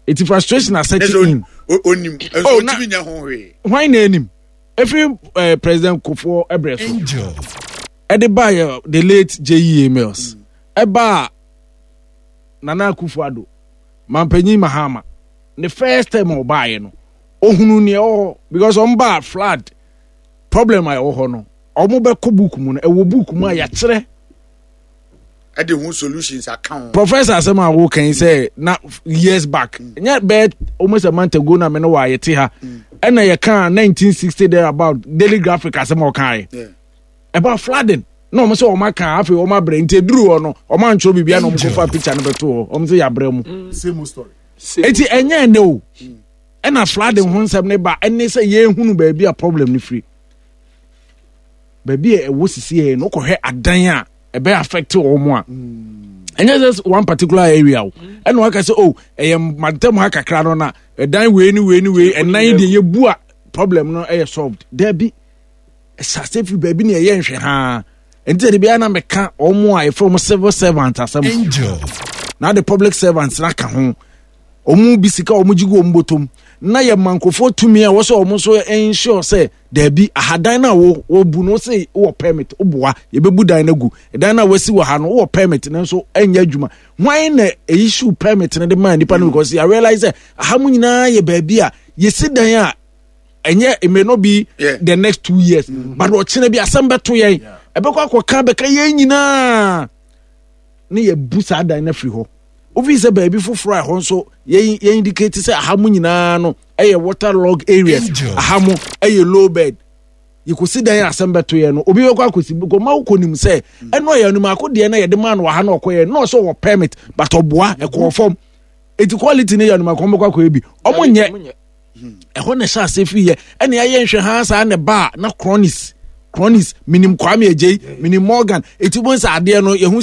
[SPEAKER 11] eti frustration asɛte in.
[SPEAKER 10] Onim.
[SPEAKER 11] Oh, na
[SPEAKER 10] otumi nya ho hwee.
[SPEAKER 11] Hwan na anim efiri uh, President Kufuor ɛbrɛ so ɛde ba yɛ the late J E A. Mills, ɛba Nana Akufo Addo, Mampanyin Mahama ne first time a ɔbaayɛ no, ohunu nea ɛwɔ hɔ because ɔmo ba flood problem a ɛwɔ hɔ no, ɔmo bɛkɔ book mu no, ɛwɔ book mu a yɛakyerɛ.
[SPEAKER 10] Ɛde ho solutions aka ho.
[SPEAKER 11] Professor, asɛm a woka yi sɛ na years back, nyɛ bɛyɛ almost a month ago na me ne wɔ a yɛte ha ɛna yɛka nineteen sixty there about Daily Graphic asɛm a ɔkaeɛ
[SPEAKER 10] Yeah.
[SPEAKER 11] about flooding na ɔmo sɛ ɔmo aka, afei ɔmo abrɛ nti eduru hɔ no, ɔmo antwerɛ biribi na ɔmo kɔfa picture no bɛto hɔ, ɔmo sɛ yɛabrɛ mu.
[SPEAKER 1] Same old story.
[SPEAKER 11] Eti ɛnyɛ ɛnɛ o ɛna flooding ho nsɛm ne ba, ɛne sɛ yɛnhunu baabi a problem no firi, baabi a ɛwɔ sisi yɛ no, wokɔhwɛ adan a ɛbɛ affect wɔn a, ɛnyɛ sɛ one particular area o, ɛna waka sɛ, oh, ɛyɛ mantam ha kakra no na ɛdan wei ne wei ne wei ɛnan deɛ yɛbu a problem no ɛyɛ solved. Daabi, ɛhyɛ ase firi baabi ne ɛyɛ nhwɛ haa. Nti sɛ de biara na meka wɔn a yɛfrɛ wɔn civil servant asɛm na de public servants na ka ho, wɔn bi sika wɔn gye gu wɔn bɔtɔm na yɛ ma nkurɔfoɔ tumi a wɔsɛ wɔn nso ensure sɛ daabi, ahadan no a wɔ wɔbu no sɛ wɔ permit, woboa yɛbɛbu dan no agu, dan no a wɔasi wɔ ha no wɔ permit no nso ɛnyɛ adwuma. Hwan na issue permit no de maa nipa no? Because yɛ realize sɛ aha mu nyinaa yɛ baabi a yɛsi dan a ɛnyɛ, it may not be
[SPEAKER 10] Yeah.
[SPEAKER 11] the next two years, mm -hmm. but ɔkyena bi asɛm bɛto yɛn, ɛbɛkɔ akɔka bɛka yɛn nyinaa ne yɛbu saa dan no afiri hɔ. Wofi sɛ baabi foforɔ a ɛhɔ nso yɛn yɛn indicate sɛ aha mu nyinaa no ɛyɛ water log areas, aha mu ɛyɛ low bed, yɛkɔsi dan a asɛm bɛto yɛn no, obi bɛkɔ akɔsi gɔma wokɔ nim sɛ ɛno ɔyɛ anim ako deɛ no yɛde maa no wɔ ha na ɔkɔyɛ na ɔsɛ ɔwɔ permit, but ɔboa ɛkɔɔ fam, eti quality no yɛ anim ako bɛkɔ akɔyɛ bi, ɔmo nyɛ. Ɛhɔ na ɛhyɛ ase firi yɛ ɛna yɛayɛ nhwɛ ha saa na ba a na cronies cronies minim Kwame Agyei, minim Morgan, eti bo nsa adeɛ no yɛhu.